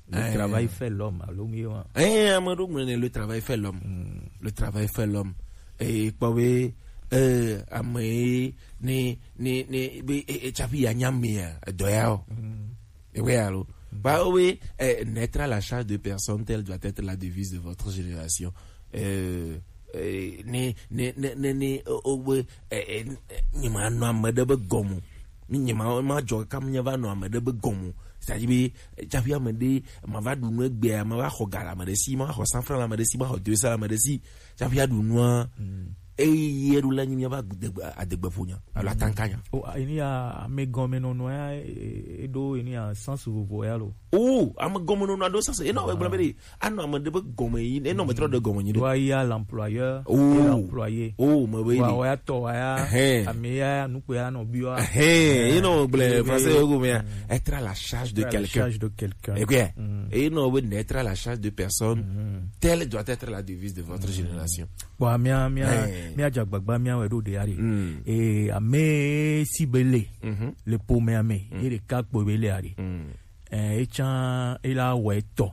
Le travail fait l'homme, alo mi wa. Eh, ame ɖo gblɔe ne le travail fait l'homme. Hmm. Le travail fait l'homme. Eh, kpɔ be, eh, ame ye ne, ne, ne, be, eh, eh, tsafi ya nya mea, edɔ ya o. Hmm. Ewe alo. Ba, oui, eh, naître à la charge de personne, telle doit être la devise de votre génération. Eh, eh, ne, ne, ne, ne, ne, o, o, be, eh, eh, ne, ne, ne ma nɔ ame ɖe be gɔme o. Mi nye ma, ma dzɔ kam nye va nɔ ame ɖe be gɔme o. C'est-à-dire be, tsaƒe ame ɖe, ma va ɖu nu egbea, ma va xɔ ga le ame ɖe si, ma va xɔ cent francs le ame ɖe si, ma xɔ deux cents le ame ɖe si, tsaƒe aɖu nua. Eye eɖo la nyi míava adegbe, adegbe ƒo nya alo atanka nya. O, eni ya, amegɔmenɔnɔ ya, e, e, eɖo eni ya sens vovo ya lo. O, amegɔmenɔnɔ aɖo sens, enɔ wɔ gblɔ be ɖe, anɔ ame ɖe be gɔme yi, enɔ me trɔ ɖe gɔme nyi ɖe. Wa ya l'employeur, oh, et l'employé. Oh, me be wa, wa ya tɔ, wa ya, ame ya nukpe ya nɔ bi wa. Enɔ gblɔ français yo gome ya. Être à la charge de quelqu'un. Être à la charge de quelqu'un. Et quoi? Enɔ be être à la charge de personne. Telle doit être la devise de votre génération. Bon, mía, mía, mía dze agbagba mía wɛ ɖo ɖe ya ɖe. Eh, ame si be le, le ƒomea me, ye ɖeka kpo be le ya ɖe. Eh, etsã ela wɔ etɔ.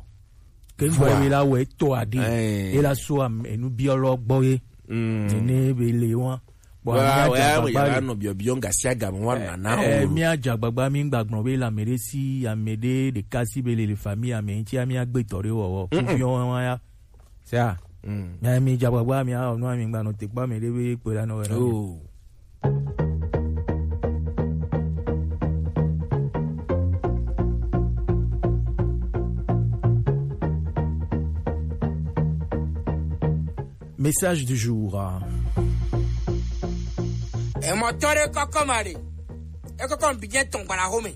Ke ŋgɔ ela wɔ etɔ aɖe. Ela so ame, enu biɔ lɔ gbɔ ye. Nene be le wa. Bon, wa, mía dze agbagba ya nɔ biɔ biɔ gasi agame wa nana o. Mía dze agbagba mi gba gblɔ be le ame ɖe si, ame ɖe ɖeka si be le le famille ame ŋuti mía gbe tɔ ɖe wɔwɔ. Kuviɔ wa ya. C'est ça. Mais mi dze agbagba mi a nu mi gba nɔ te kpɔ mi ɖe be kpe la nɔ wɛ. Oh. Message du jour. Emɔtɔ ɖe kɔkɔ ma ɖe. Ekɔkɔ bi dze tɔn gbala home.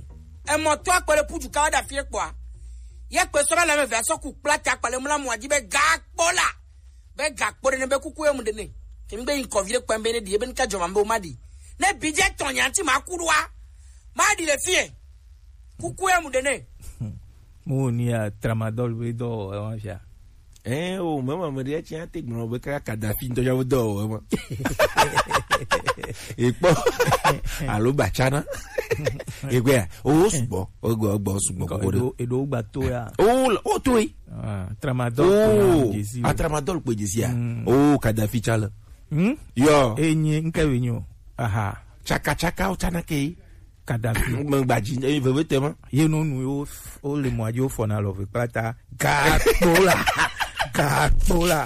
Emɔtɔ akpɔ ɖe putu kawo ɖe afi ɖe kpɔa. Ye kpe sɔ be le ame eve asɔ ku kpla ta kpale mla mɔ dzi be gakpo la. Be gakpo ɖe ne be kuku emu ɖe ne. Kemi be ŋkɔ vi ɖe kpɛm be ne ɖi ebe nika dzɔ ma be o ma ɖi. Ne bi dze tɔ nya ŋti ma ku ɖoa. Ma ɖi le fie. Kuku emu ɖe ne. Mo ni a tramadol be dɔ o e wa fia. Eh, o, mama me ɖe tsi ate gblɔ be kaka Kadhafi ŋutɔ ya wo dɔ o e ma. Ekpɔ. Alo batsana. Egbea, o sugbɔ. Ogbɔ, ogbɔ sugbɔ koko ɖe. Eɖo, eɖo gba to ya. O, o to yi. Ah, tramadol kpoe ya dzesi o. Ah, tramadol kpoe dzesi ya. Mm. O, Kadhafi tsa le. Hmm? Yo. Enye, nke be nyo. Aha. Tsaka, tsaka, o tsana ke. Kadhafi. Me gba dzi, e, veve te ma. Ye no nu yo, o le mɔ dzi o fɔ na lɔ ve kpata. Gakpo la. Gakpo la.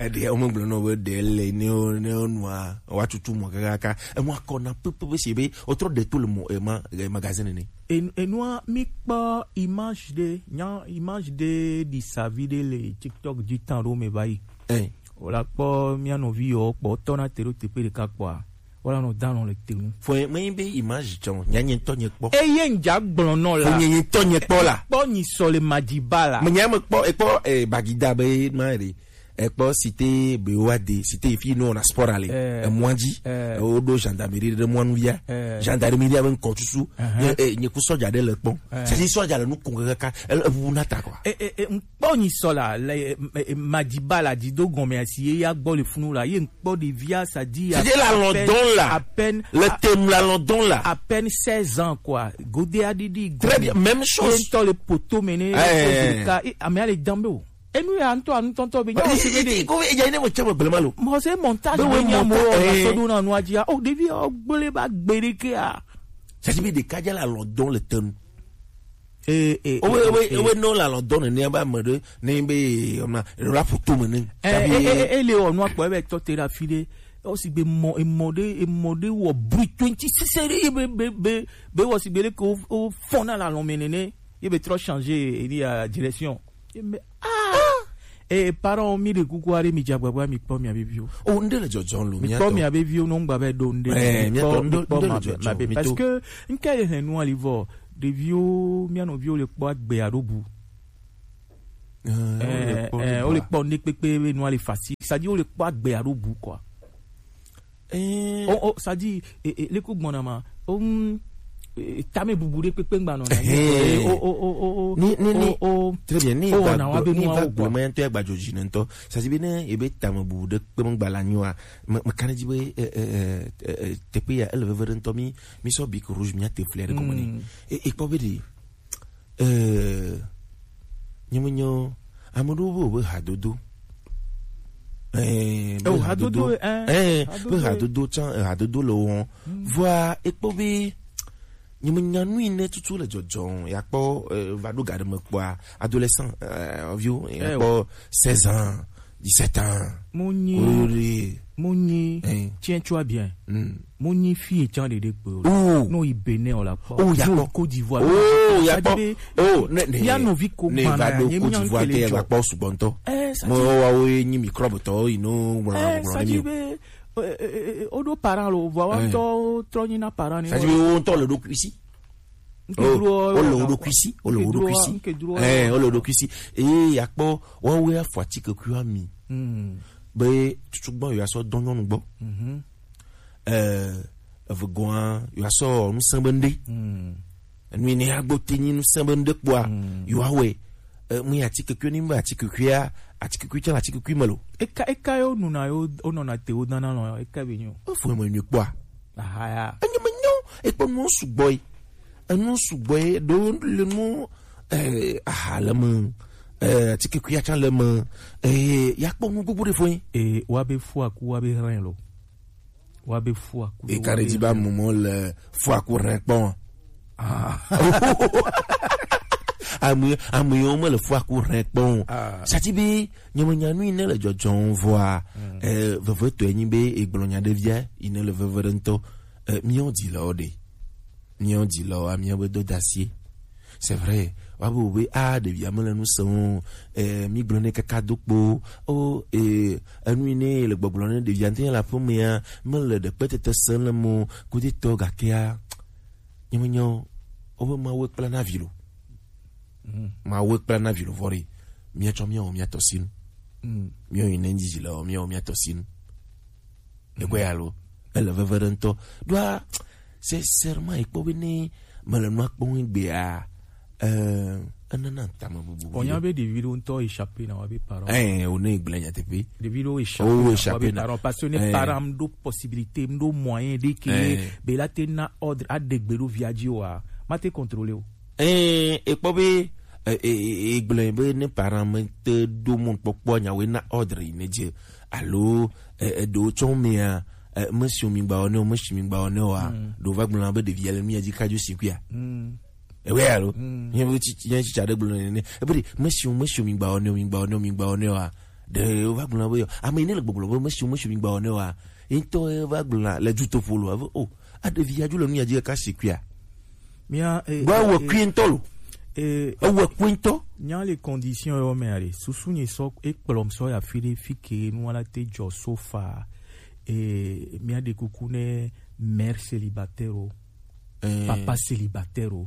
Eɖe, o me gblɔ nɔ be ɖe le ne o, ne o nua, wa tutu mɔ kakaka. E mɔ akɔ na pepe be se be, o trɔ ɖe to le mɔ, e ma, e magazine ne. En-, enua, mi kpɔ image ɖe, nya image ɖe ɖi savi ɖe le TikTok dzi tan ɖo me va yi. Eh. Wòla kpɔ mía nɔvi yɔ kpɔ tɔ na te ɖo teƒe ɖeka kpɔa, wòla nɔ dalɔn le te ŋu. Fo me be image tsɔ, nya nye ŋutɔ nye kpɔ. Eye ŋdza gblɔ nɔ la. Fo nye ŋutɔ nye kpɔ la. Kpɔ nyi sɔ le Madiba la. Me nya me kpɔ, ekpɔ, eh, Bagida be ma ɖe. Ekpɔ cité Beoade, cité fi no na sport ale. Eh. Emɔa dzi. Eh. Woɖo gendarmerie ɖe mɔa nu via. Eh. Gendarmerie be ŋkɔ tutu. Eh, eh, nye ku sɔdza ɖe le kpɔ. Eh. Sisi sɔdza le nu kun kaka. Eʋu na ta quoi. Eh, eh, eh, kpɔ nyi sɔ la le, eh, eh, Madiba la dzi do gɔme asi ye ya gbɔ le funu la ye ŋkpɔ ɖevia sa di. C'était la London la. À peine, le thème la London la. À peine seize ans quoi. Godé a didi. Très bien, même chose. Ye ŋutɔ le poto me ne. Eh. Ame ale dambe o. Enu ya ŋutɔ anutɔntɔ be nyawo si be de. Ko e ja ne mo chama blema lo. Mo se montage be we nya mo na so do na nu ajia. O ɖevi o gbele ba gbere ke a. Ça dit be de kaja la London le thème. Eh, eh, owe, eh, owe, eh, owe no la lɔ dɔn ne ba me ɖe ne be, eh, ona rap to me ne. Eh, eh, eh, eh, eh, le o no akpɔ ebe tɔ te ɖe afi ɖe. O si gbe mɔ, emɔ ɖe, emɔ ɖe wɔ bruit twenty six ɖe, be, be, be, be wɔ si gbe ɖe ke o, o fɔn na la lɔ me nene. Ye be trɔ changer, e di a direction. Ye me, ah! Eh, parents, mi ɖe kuku aɖe, mi dze agbagba, mi kpɔ mia be viwo. O, ŋɖe le dzɔdzɔm lo, mi kpɔ mia be viwo, no ŋgba be ɖo ŋɖe. Eh, mi kpɔ, mi kpɔ ma be, ma be, parce que ŋke le hɛn nua li vɔ, ɖeviwo, mia nɔviwo le kpɔ agbe alo bu. Eh, eh, wo le kpɔ ŋɖe kpekpe be nua le facile. C'est-à-dire wo le kpɔ agbe alo bu quoi. Eh. O, o, c'est-à-dire, e, e, le ko gbɔna ma. O, mm, e, tame bubu ɖe kpekpe ŋgba nɔ na. Eh. O, o, o, o, o. Ni, ni, ni. O, o. Très bien, ni o, va na wa gblɔ, be ni nua va wo gblɔ, quoi. Ma ŋutɔ ya gba dzodzi ne ŋutɔ. C'est-à-dire be ne ebe tame bubu ɖe kpe ŋgba la nyoa, me, me kana dzi be, eh, eh, eh, eh, eh, teƒe ya, ele veve ɖe ŋutɔ, mi, mi sɔ bic rouge, mi ate fleur ɖe gɔme ne. Mm. E, e kpɔ be ɖe, eh, nye me nyo, ame ɖewo be wobe hadodo. Eh, be oh, hadodo, hadodo, eh, eh, hadodo, be hadodo tsã, eh, hadodo le wo. Mm. Vɔa, ekpɔ be, nye me nya nu yi ne tutu le dzɔdzɔm, ya kpɔ, eh, va ɖo ga ɖe me kpɔa, adolescent, eh, viwo, ya kpɔ seize ans, dix-sept ans. Mo nyi. Wo le Mo nyi, eh, tiens, tu as bien. Mm. Mo nyi fi e can de de kpe o. Oh. No, i Bénin o la kpɔ. Oh, ya kpɔ. Côte d'Ivoire. Oh, ya kpɔ. Oh, ne, ne, mia nɔvi ko ne gbana va do ya, nye Côte d'Ivoire te ya kpɔ sugbɔntɔ. Eh, ça mo dit wa wo nyi microbe tɔ, you know, eh, ça dit be, eh, eh, eh, o do parent lo, vɔ wa ŋutɔ trɔ nyi na parent ni. Ça dit be wo ŋutɔ le ɖo kusi. Oh, o le wo ɖokui si, o le wo ɖokui si. Eh, o le wo ɖokui si. Eye akpɔ, woawoe afɔ atikekuiwo ami. Hmm. Be tutugbã yewoasɔ dɔ nyɔnu gbɔ. Mhm. Eh, evegɔa, yewoasɔ nu sẽ be ŋɖe. Hmm. Enu yi ne agbo te nyi nu sẽ be ŋɖe kpɔa, hmm, yewoawɔe. Eh, mu yi atikekui ni be atikekuia, atikekui tsã le atikekui me lo. Eka, eka yo nuna yo, o nɔna te wo dana lɔ, eka be nyo. O fo me nyo kpɔa. Aha ya. Enye me nyo, ekpɔ nuwo sugbɔ yi. Enu sugbɔ ye ɖo le nu, eh, aha le me, eh, atikekuia tsã le me, eh, ya kpɔ nu gbogbo ɖe fɔ ye. Eh, wa be fu aku, wa be hɛn lo. Wa be fu aku. E ka ɖe dzi ba mumɔ le fu aku hɛn kpɔ. Ah. Ame, ame yiwo me le fu aku hɛn kpɔ. Ah. Sati be, nye me nya nu yi ne le dzɔdzɔm vɔa, mm, eh, vevetɔe nyi be egblɔ nya ɖe via, yi ne le veve ɖe ŋutɔ, eh, miɔ di le o ɖe. Míawo dzilawo, amía be dodasie. C'est vrai. Wa be wo be, ah, ɖevia mele nu sem o. Eh, mi gblɔ nɛ kaka do kpo. O, eh, enu yi ne le gbɔgblɔ ne ɖevia ŋutɔ le aƒemea, mele ɖekpetete sem le mo. Kudetɔ gakea, nye me nyo. O be Mawu kpla na vi lo. Mm. Mawu kpla na vi lo vɔ ɖe. Míatsɔ míawɔ mía tɔ sinu. Mm. Míawo yi ne dzilawo, míawɔ mía tɔ sinu. Ekpɔe alo? Ele veve ɖe ŋutɔ. Ɖoa, sincèrement, ekpɔ be ne mele nua kpɔm egbea, eh, enana tame bubu. Onya be ɖevi ɖewo ŋutɔ échappé na wa be parents. Eh, o ne gblẽ nyateƒe. Ɖevi ɖewo échappé na wa be parents. Parce que ne parent m ɖo possibilité, m ɖo moyen ɖe ke be la te na ordre, aɖe gbe ɖo via dzi oa, ma te contrôler o. Eh, ekpɔ be, eh, eh, eh, egblẽ be ne parent me te ɖo mɔnukpɔkpɔ nyawoe na ordre yi ne dze. Alo, eh, eh, ɖewo tsɔ mea, eh, mesiwo mi gba wɔ ne o, mesi mi gba wɔ ne oa, mm, ɖewo va gblɔna be ɖevia le mía dzi ka dzo si kuia. Mm. Ewe alo? Mm. Nye be tsi, nye tsitsi aɖe gblɔ nene. Ebe ɖe, mesiwo, mesiwo mi gba wɔ ne o, mi gba wɔ ne o, mi gba wɔ ne oa. Ɖewo va gblɔna be yɔ. Ame yi ne le gbɔgblɔ be mesiwo, mesiwo mi gba wɔ ne oa. Ye ŋutɔ ye va gblɔna le dutoƒo lo. Ave, oh, a ɖevia dzo le nu ya dzi ka si kuia. Mía, eh, Gbe eh, ewɔe eh, kui ŋutɔ lo. Eh, ewɔe kui ŋutɔ. Nya le condition yɔ me ale. Susu nye sɔ, ekplɔm sɔ ya fi ɖe fi ke nu ala te dzɔ so fa. Eh, mía ɖe kuku ne mère célibataire o. Eh. Papa célibataire o.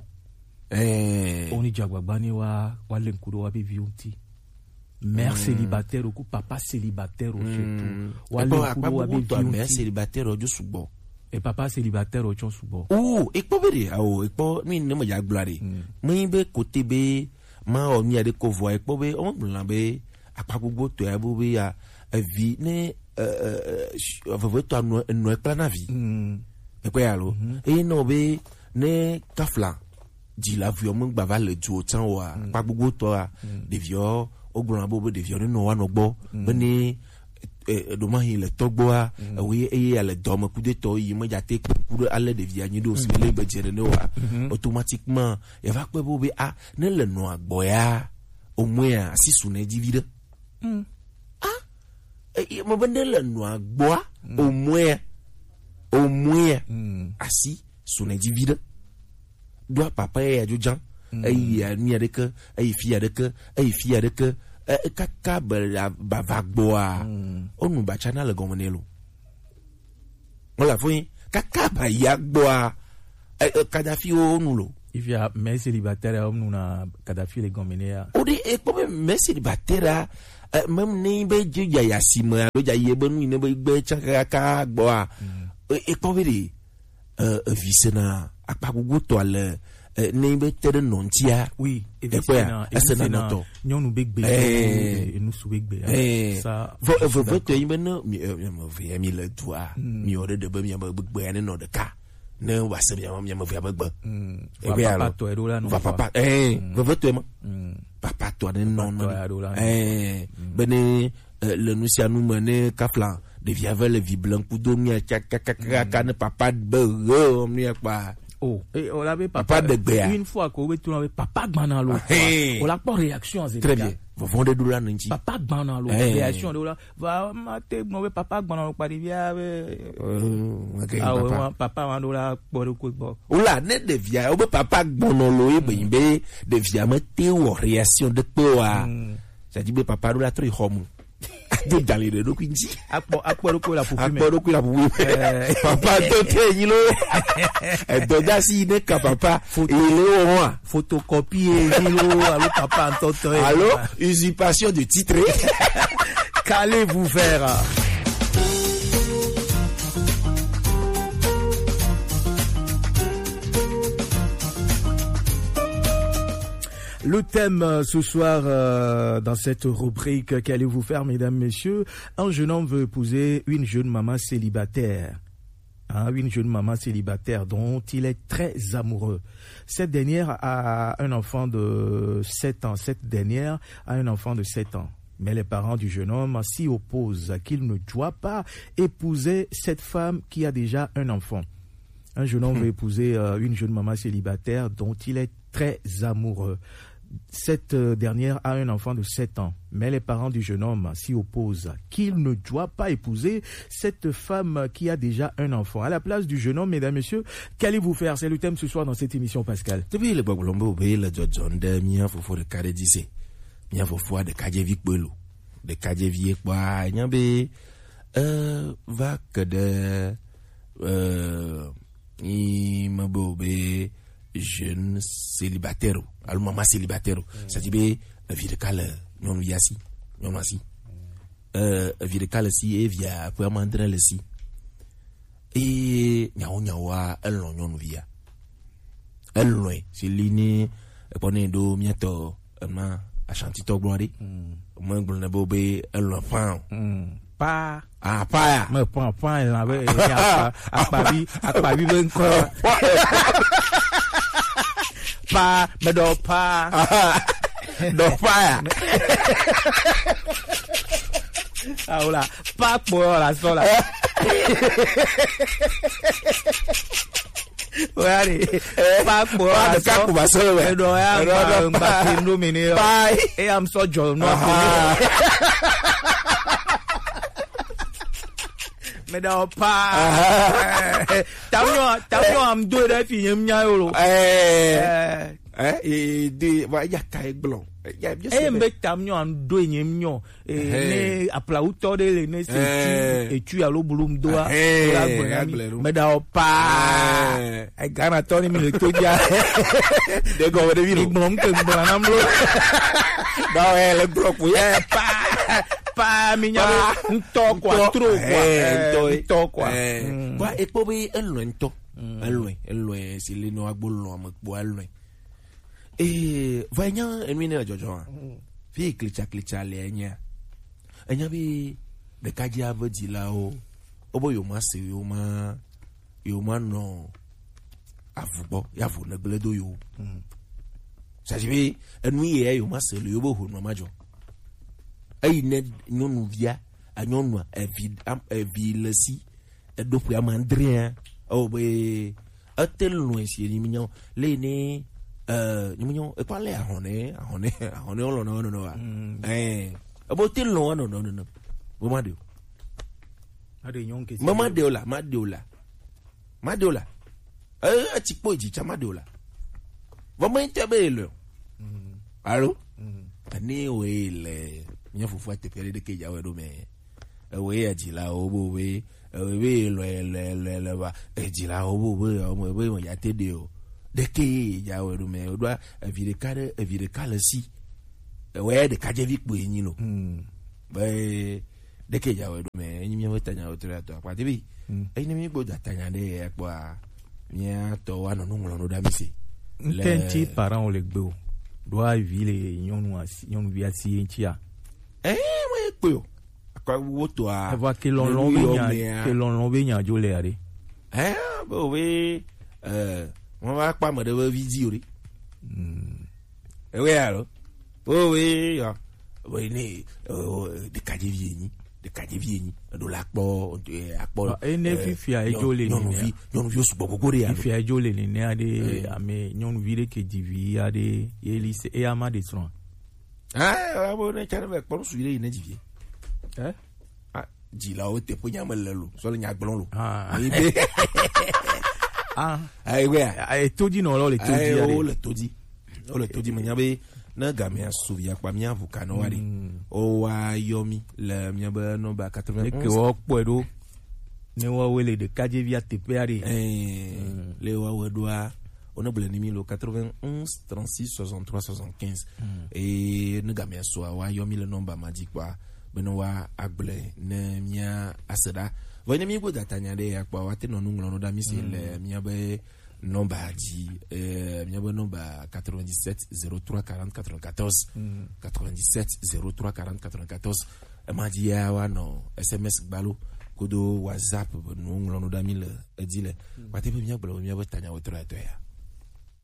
Eh. Oni dzagbagba ne wa, wa le ŋku ɖo wa be vi ŋuti. Mère célibataire o ku papa célibataire o surtout. Wa le ŋku ɖo wa be vi ŋuti. Mère célibataire o dzo sugbɔ. E papa célibataire o tsɔ sugbɔ. Oh, ekpɔ be ɖe, awo, ekpɔ nu yi ne me dza gblɔ ɖe. Mm. Me yi be kote be ma wɔ nu ya ɖe ko vɔ, ekpɔ be, o gblɔ be, akpa gbogbo tɔ ya bo be ya, evi ne, eh, eh, eh, vevetɔ anɔ, enɔ ekpla na vi. Mm. Ekpɔ ya lo. Mhm. Eye nɔ be ne kafla dzi la viɔ me gba va le duo tsã oa, mm, akpa gbogbo tɔ a, mm, ɖeviɔ, o gblɔ be, be ɖeviɔ ne nɔ wa nɔ gbɔ, mm, be ne, eh, eh, ɖo ma hi le tɔgbɔa, mm, ewo ye, eye ya le dɔ me kudetɔ yi me dza te ku ɖe ale ɖevia nyi ɖo si le be dze ne wa, mhm, automatiquement, ya va kpɔe be, be, a, ne le nɔa gbɔ ya, au moins asi su ne dzi vi ɖe. Mm. Ah, eh, eh, me be ne le nɔa gbɔa, mm, au moins, au moins, mm, asi su ne dzi vi ɖe. Ɖoa papa ya dzo dzan. Mm. Eyi ya nu ya ɖeke, eyi fi ya ɖeke, eyi fi ya ɖeke, eh, kaka be la, ba va gbɔa. Mm. O nu batsa na le gɔme ne lo. Wala fo yin, kaka ba ya gbɔa, eh, eh, Kadhafi o nu lo. Ifia, mère célibataire ya, o nu na Kadhafi le gɔme ne ya. O de, ekpɔ be mère célibataire ya, eh, même ne be dze ya ya si me, alo dza yi be nu yi ne be gbe tsã kaka gbɔa. Mm. Eh, ekpɔ be de, eh, evi sena akpa gbogbo tɔ ale, eh, ne be te ɖe nɔ ŋutia. Oui, evi ekpɔa, sena, evi esena sena nɔtɔ. Nyɔnu be gbe, eh, enu su be gbe, eh, sa vɔ, eh, veve tɔ yi be ne mi, eh, mi, mi, mi le dua, mm, mi wɔ ɖe ɖe be mi be gbe ya ne nɔ ɖeka. Ne wa se mi, mi, mi via be gbe. Mm. Ebe va alo papa tɔ eɖo la nɔ va papa, eh, mm, veve tɔ ma. Mm. Papa tɔ ne nɔ, papa tɔ eɖo la nɔ. Eh, mm, be ne, eh, le nu sia nu me ne kafla ɖevia ve le vi blem kudo nu ya tsaka, kaka, kaka, mm, ne papa be he nu ya kpa. Oh, eh, on avait papa, papa de gbea. Une fois qu'on veut tourner avec papa Gbanalo. Ah, hey. On l'a pas réaction en très bien. Vovon de doula nunji. Papa Gbanalo. Hey. Réaction de là. Va, ma te gblɔ be papa gbɔnɔ lo kpa ɖevia be. Euh, ok, ah, ouais, papa. Papa ma ɖo la kpɔ ɖe ko gbɔ. Wula ne ɖevia, wobe papa gbɔnɔ lo ye be, be ɖevia me te wɔ réaction de kpe wa. Hmm. Ça dit be papa ɖo la trɔ yi xɔ mu. Ado dali ɖe ɖokui ŋuti. Akpɔ, akpɔ ɖokui la ƒoƒu me. Akpɔ ɖokui la ƒoƒu me. Eh. Papa do te nyi lo. Edo da si ne ka papa. Foto. Il est au roi. Photocopie, alo papa ntɔtɔ ye. Allô, usurpation de titre. Qu'allez-vous faire? Le thème, euh, ce soir, euh, dans cette rubrique, qu'allez-vous faire, mesdames, messieurs? Un jeune homme veut épouser une jeune maman célibataire. Hein, une jeune maman célibataire dont il est très amoureux. Cette dernière a un enfant de sept ans. Cette dernière a un enfant de sept ans. Mais les parents du jeune homme s'y opposent, qu'il ne doit pas épouser cette femme qui a déjà un enfant. Un jeune homme, hmm, veut épouser, euh, une jeune maman célibataire dont il est très amoureux. Cette, euh, dernière a un enfant de sept ans, mais les parents du jeune homme s'y opposent, qu'il ne doit pas épouser cette femme qui a déjà un enfant. À la place du jeune homme, mesdames, messieurs, qu'allez-vous faire? C'est le thème ce soir dans cette émission, Pascal. Tebi le gbɔgblɔm be wobe le dzɔdzɔm ɖe mía fofo ɖeka ɖe dzi se. Mía fofoa ɖekadzevi kpoe lo. Ɖekadzevi ye kpɔa, nya be, euh, va ke ɖe, euh, yi me be wobe jeune célibataire o, alo maman célibataire o. Mm. C'est-à-dire be evi ɖeka le nyɔnuvia si, nyɔnua si. Mm. Eh, evi ɖeka le si, ye via ƒe ame adre le si. Eye nyawo nyawoa, elɔ̃ nyɔnuvia. Elɔ̃e, si li ni ekpɔ ne ɖo miatɔ ema Ashantitɔ gblɔ ɖi. Mm. Megblɔ ne be, be elɔ̃ ƒã o. Mm. Pa. Ah, pa ya. Me pa, pa, la be, eh, akpa, akpavi, akpavi be ŋkɔ. Pa, me ɖɔ pa. Ɖɔ pa ya. Awo la, pa kpɔ la sɔ la. Oya de. Eh, pa kpɔ pa la de sɔ. Ka ku ba sɔ le. Eɖɔ ya. Eɖɔ ŋgba, do ŋgba pa. Ke no mi ne. Pa. E ya m sɔ jɔ no. Aha. Me ɖɔ pa. Aha. Tamyɔ, tamyɔ am do ɖe fi nyem nya yo lo. Eh. Eh. Eh, e de va ya ka e gblɔ. Ya, ya. Eye mbe tamyɔ am do nyem nyɔ. Eh, ne aplawutɔ ɖe le ne se tu, eh, etu alo blu m doa, eh, la gbe na mi. Agblẽ ɖo. Me ɖa o pa. Eh. Ghana tɔ ni mi le to dza. De gɔme ɖe vi lo. Igblɔm ke gblɔ na mlo. Ba wɛ le gblɔ ko. Eh, pa, pa, mi nya be ŋutɔ kɔ, ŋutɔ, tro kɔ, eh, eh, ŋutɔ, ŋutɔ kɔ. Eh. Mm. Ba ekpɔ be elɔ̃e ŋutɔ. Mm. Elɔ̃e, elɔ̃e, si le nɔ agbo lɔ̃ ame kpɔ elɔ̃e. Ee, vɔ enya enu yi ne le dzɔdzɔa? Mm. Fi yi klitsaklitsa le enyea? Enya be ɖekadzi ave dzilawo, wobe yewo ma se, yewo ma, yewo ma nɔ avu gbɔ, ya avu ne gblẽ do yewo. Mm. C'est-à-dire be enu yi ya yewo ma se le yewo be honu ma dzɔ. Eyi ne nyɔnuvia, a nyɔnua, evi, am-, evi le si, eɖo ƒe ame adrea, ewɔ be ete lɔ̃e si enyi minyɔ le ne, eh, nyi minyɔ ekɔ ale ahɔne, ahɔne, ahɔne wɔ lɔ̃ na wɔ nɔnɔ wa. Mm. Eh, ebo te lɔ̃ wɔ nɔnɔ nɔnɔ. Bo ma de o. Ma de nyɔn ke. Ma, ma de o la, ma de o la. Ma de o la. Eh, etsi kpo dzi tsa ma de o la. Vɔ me ŋutɔ be ele o. Mm. Alo? Mm. Ani wo ye le mía fofo teƒe aɖe ɖeke dza wɔe ɖo me. Ewoe ya dzilawo bo be, ewoe be lɔe, lɔe, lɔe, lɔe va. Edzilawo bo be, ɔmɔ be me ya te ɖe o. Ɖeke ye dza wɔe ɖo me. Woɖoa evi ɖeka ɖe, evi ɖeka le si. Ewoe ya ɖekadzevi kpoe nyi lo. Mm. Be ɖeke dza wɔe ɖo me. Enyi mía be tanya wo tre atɔ akpa te bi. Mm. Eyi ne mí gbɔ dza tanya ɖe ya kpɔa, mía tɔ wa nɔ nu ŋlɔ nu ɖa mi se. Ŋutɛŋti parent wo le gbe o. Ɖoa vi le nyɔnu asi, nyɔnuvi asi ye ŋutia. Eh, mo ye kpe o. Akpa wo to a. Eva ke lɔlɔn be nya, ke lɔlɔn be nya dzo le ya ɖe. Eh, be o be, eh, mo va kpa me ɖe be vi dzi o ɖe. Mm. Ewe alo. O we ya. We ne, eh, ɖekadzevi ye nyi. ɖekadzevi enyi, eɖo la kpɔ, eh, akpɔ, Ba, ene eh, fifia edzo nyɔ-, le nyɔnuvi, nene. Nyɔnuviwo sugbɔ gogo ɖe ya. Fifia edzo le nene aɖe, eh, ame nyɔnuvi ɖe ke dzi vi aɖe, ye li se, eya ma ɖe srɔ̃. Ah, abo ne tsɛ ne vɛ kpɔ nu suvi ɖe yi ne dzi vi. Eh? Ah, dzilawo teƒe nya me le lo, sɔ le nya gblɔm lo. Ah. Yi be. Ah. Ayi wea. Ah, eto dzi nɔ lɔ le to dzi. Ayi, aɖe. Wo le to dzi. Wo le to dzi, menya be ne gamea su via kpa mía ʋu ka nɔ wa ɖe. Mm. Wo wa yɔ mi le mía be nɔmba quatre-vingt-onze. Eke wo kpɔe ɖo. Ne woawoe le ɖekadzevia teƒe aɖe. Eh, mm. Le woawoe ɖoa, wone gblɔe ni mi le quatre-vingt-onze trente-six soixante-trois soixante-quinze. Mm. Eye ne gamea sua, woayɔ mi le nɔmba ma dzi kpɔa, bene woa agblɔe ne mía ase ɖa. Vɔ ne mi go data nya ɖe ya kpɔa, woate nɔ nu ŋlɔ nu ɖa mi se, mm, le mía be nɔmba dzi, eh, mía be nɔmba quatre-vingt-dix-sept zéro trois quarante quatre-vingt-quatorze. Mm. Quatre-vingt-dix-sept zéro trois quarante quatre-vingt-quatorze. Ema dzi ya woanɔ S M S gbalo kodo WhatsApp be nuwo ŋlɔ nu ɖa mi le edzi le. Mm. Wate be míagblɔ be míabe tanyawo trɔ etɔe ya.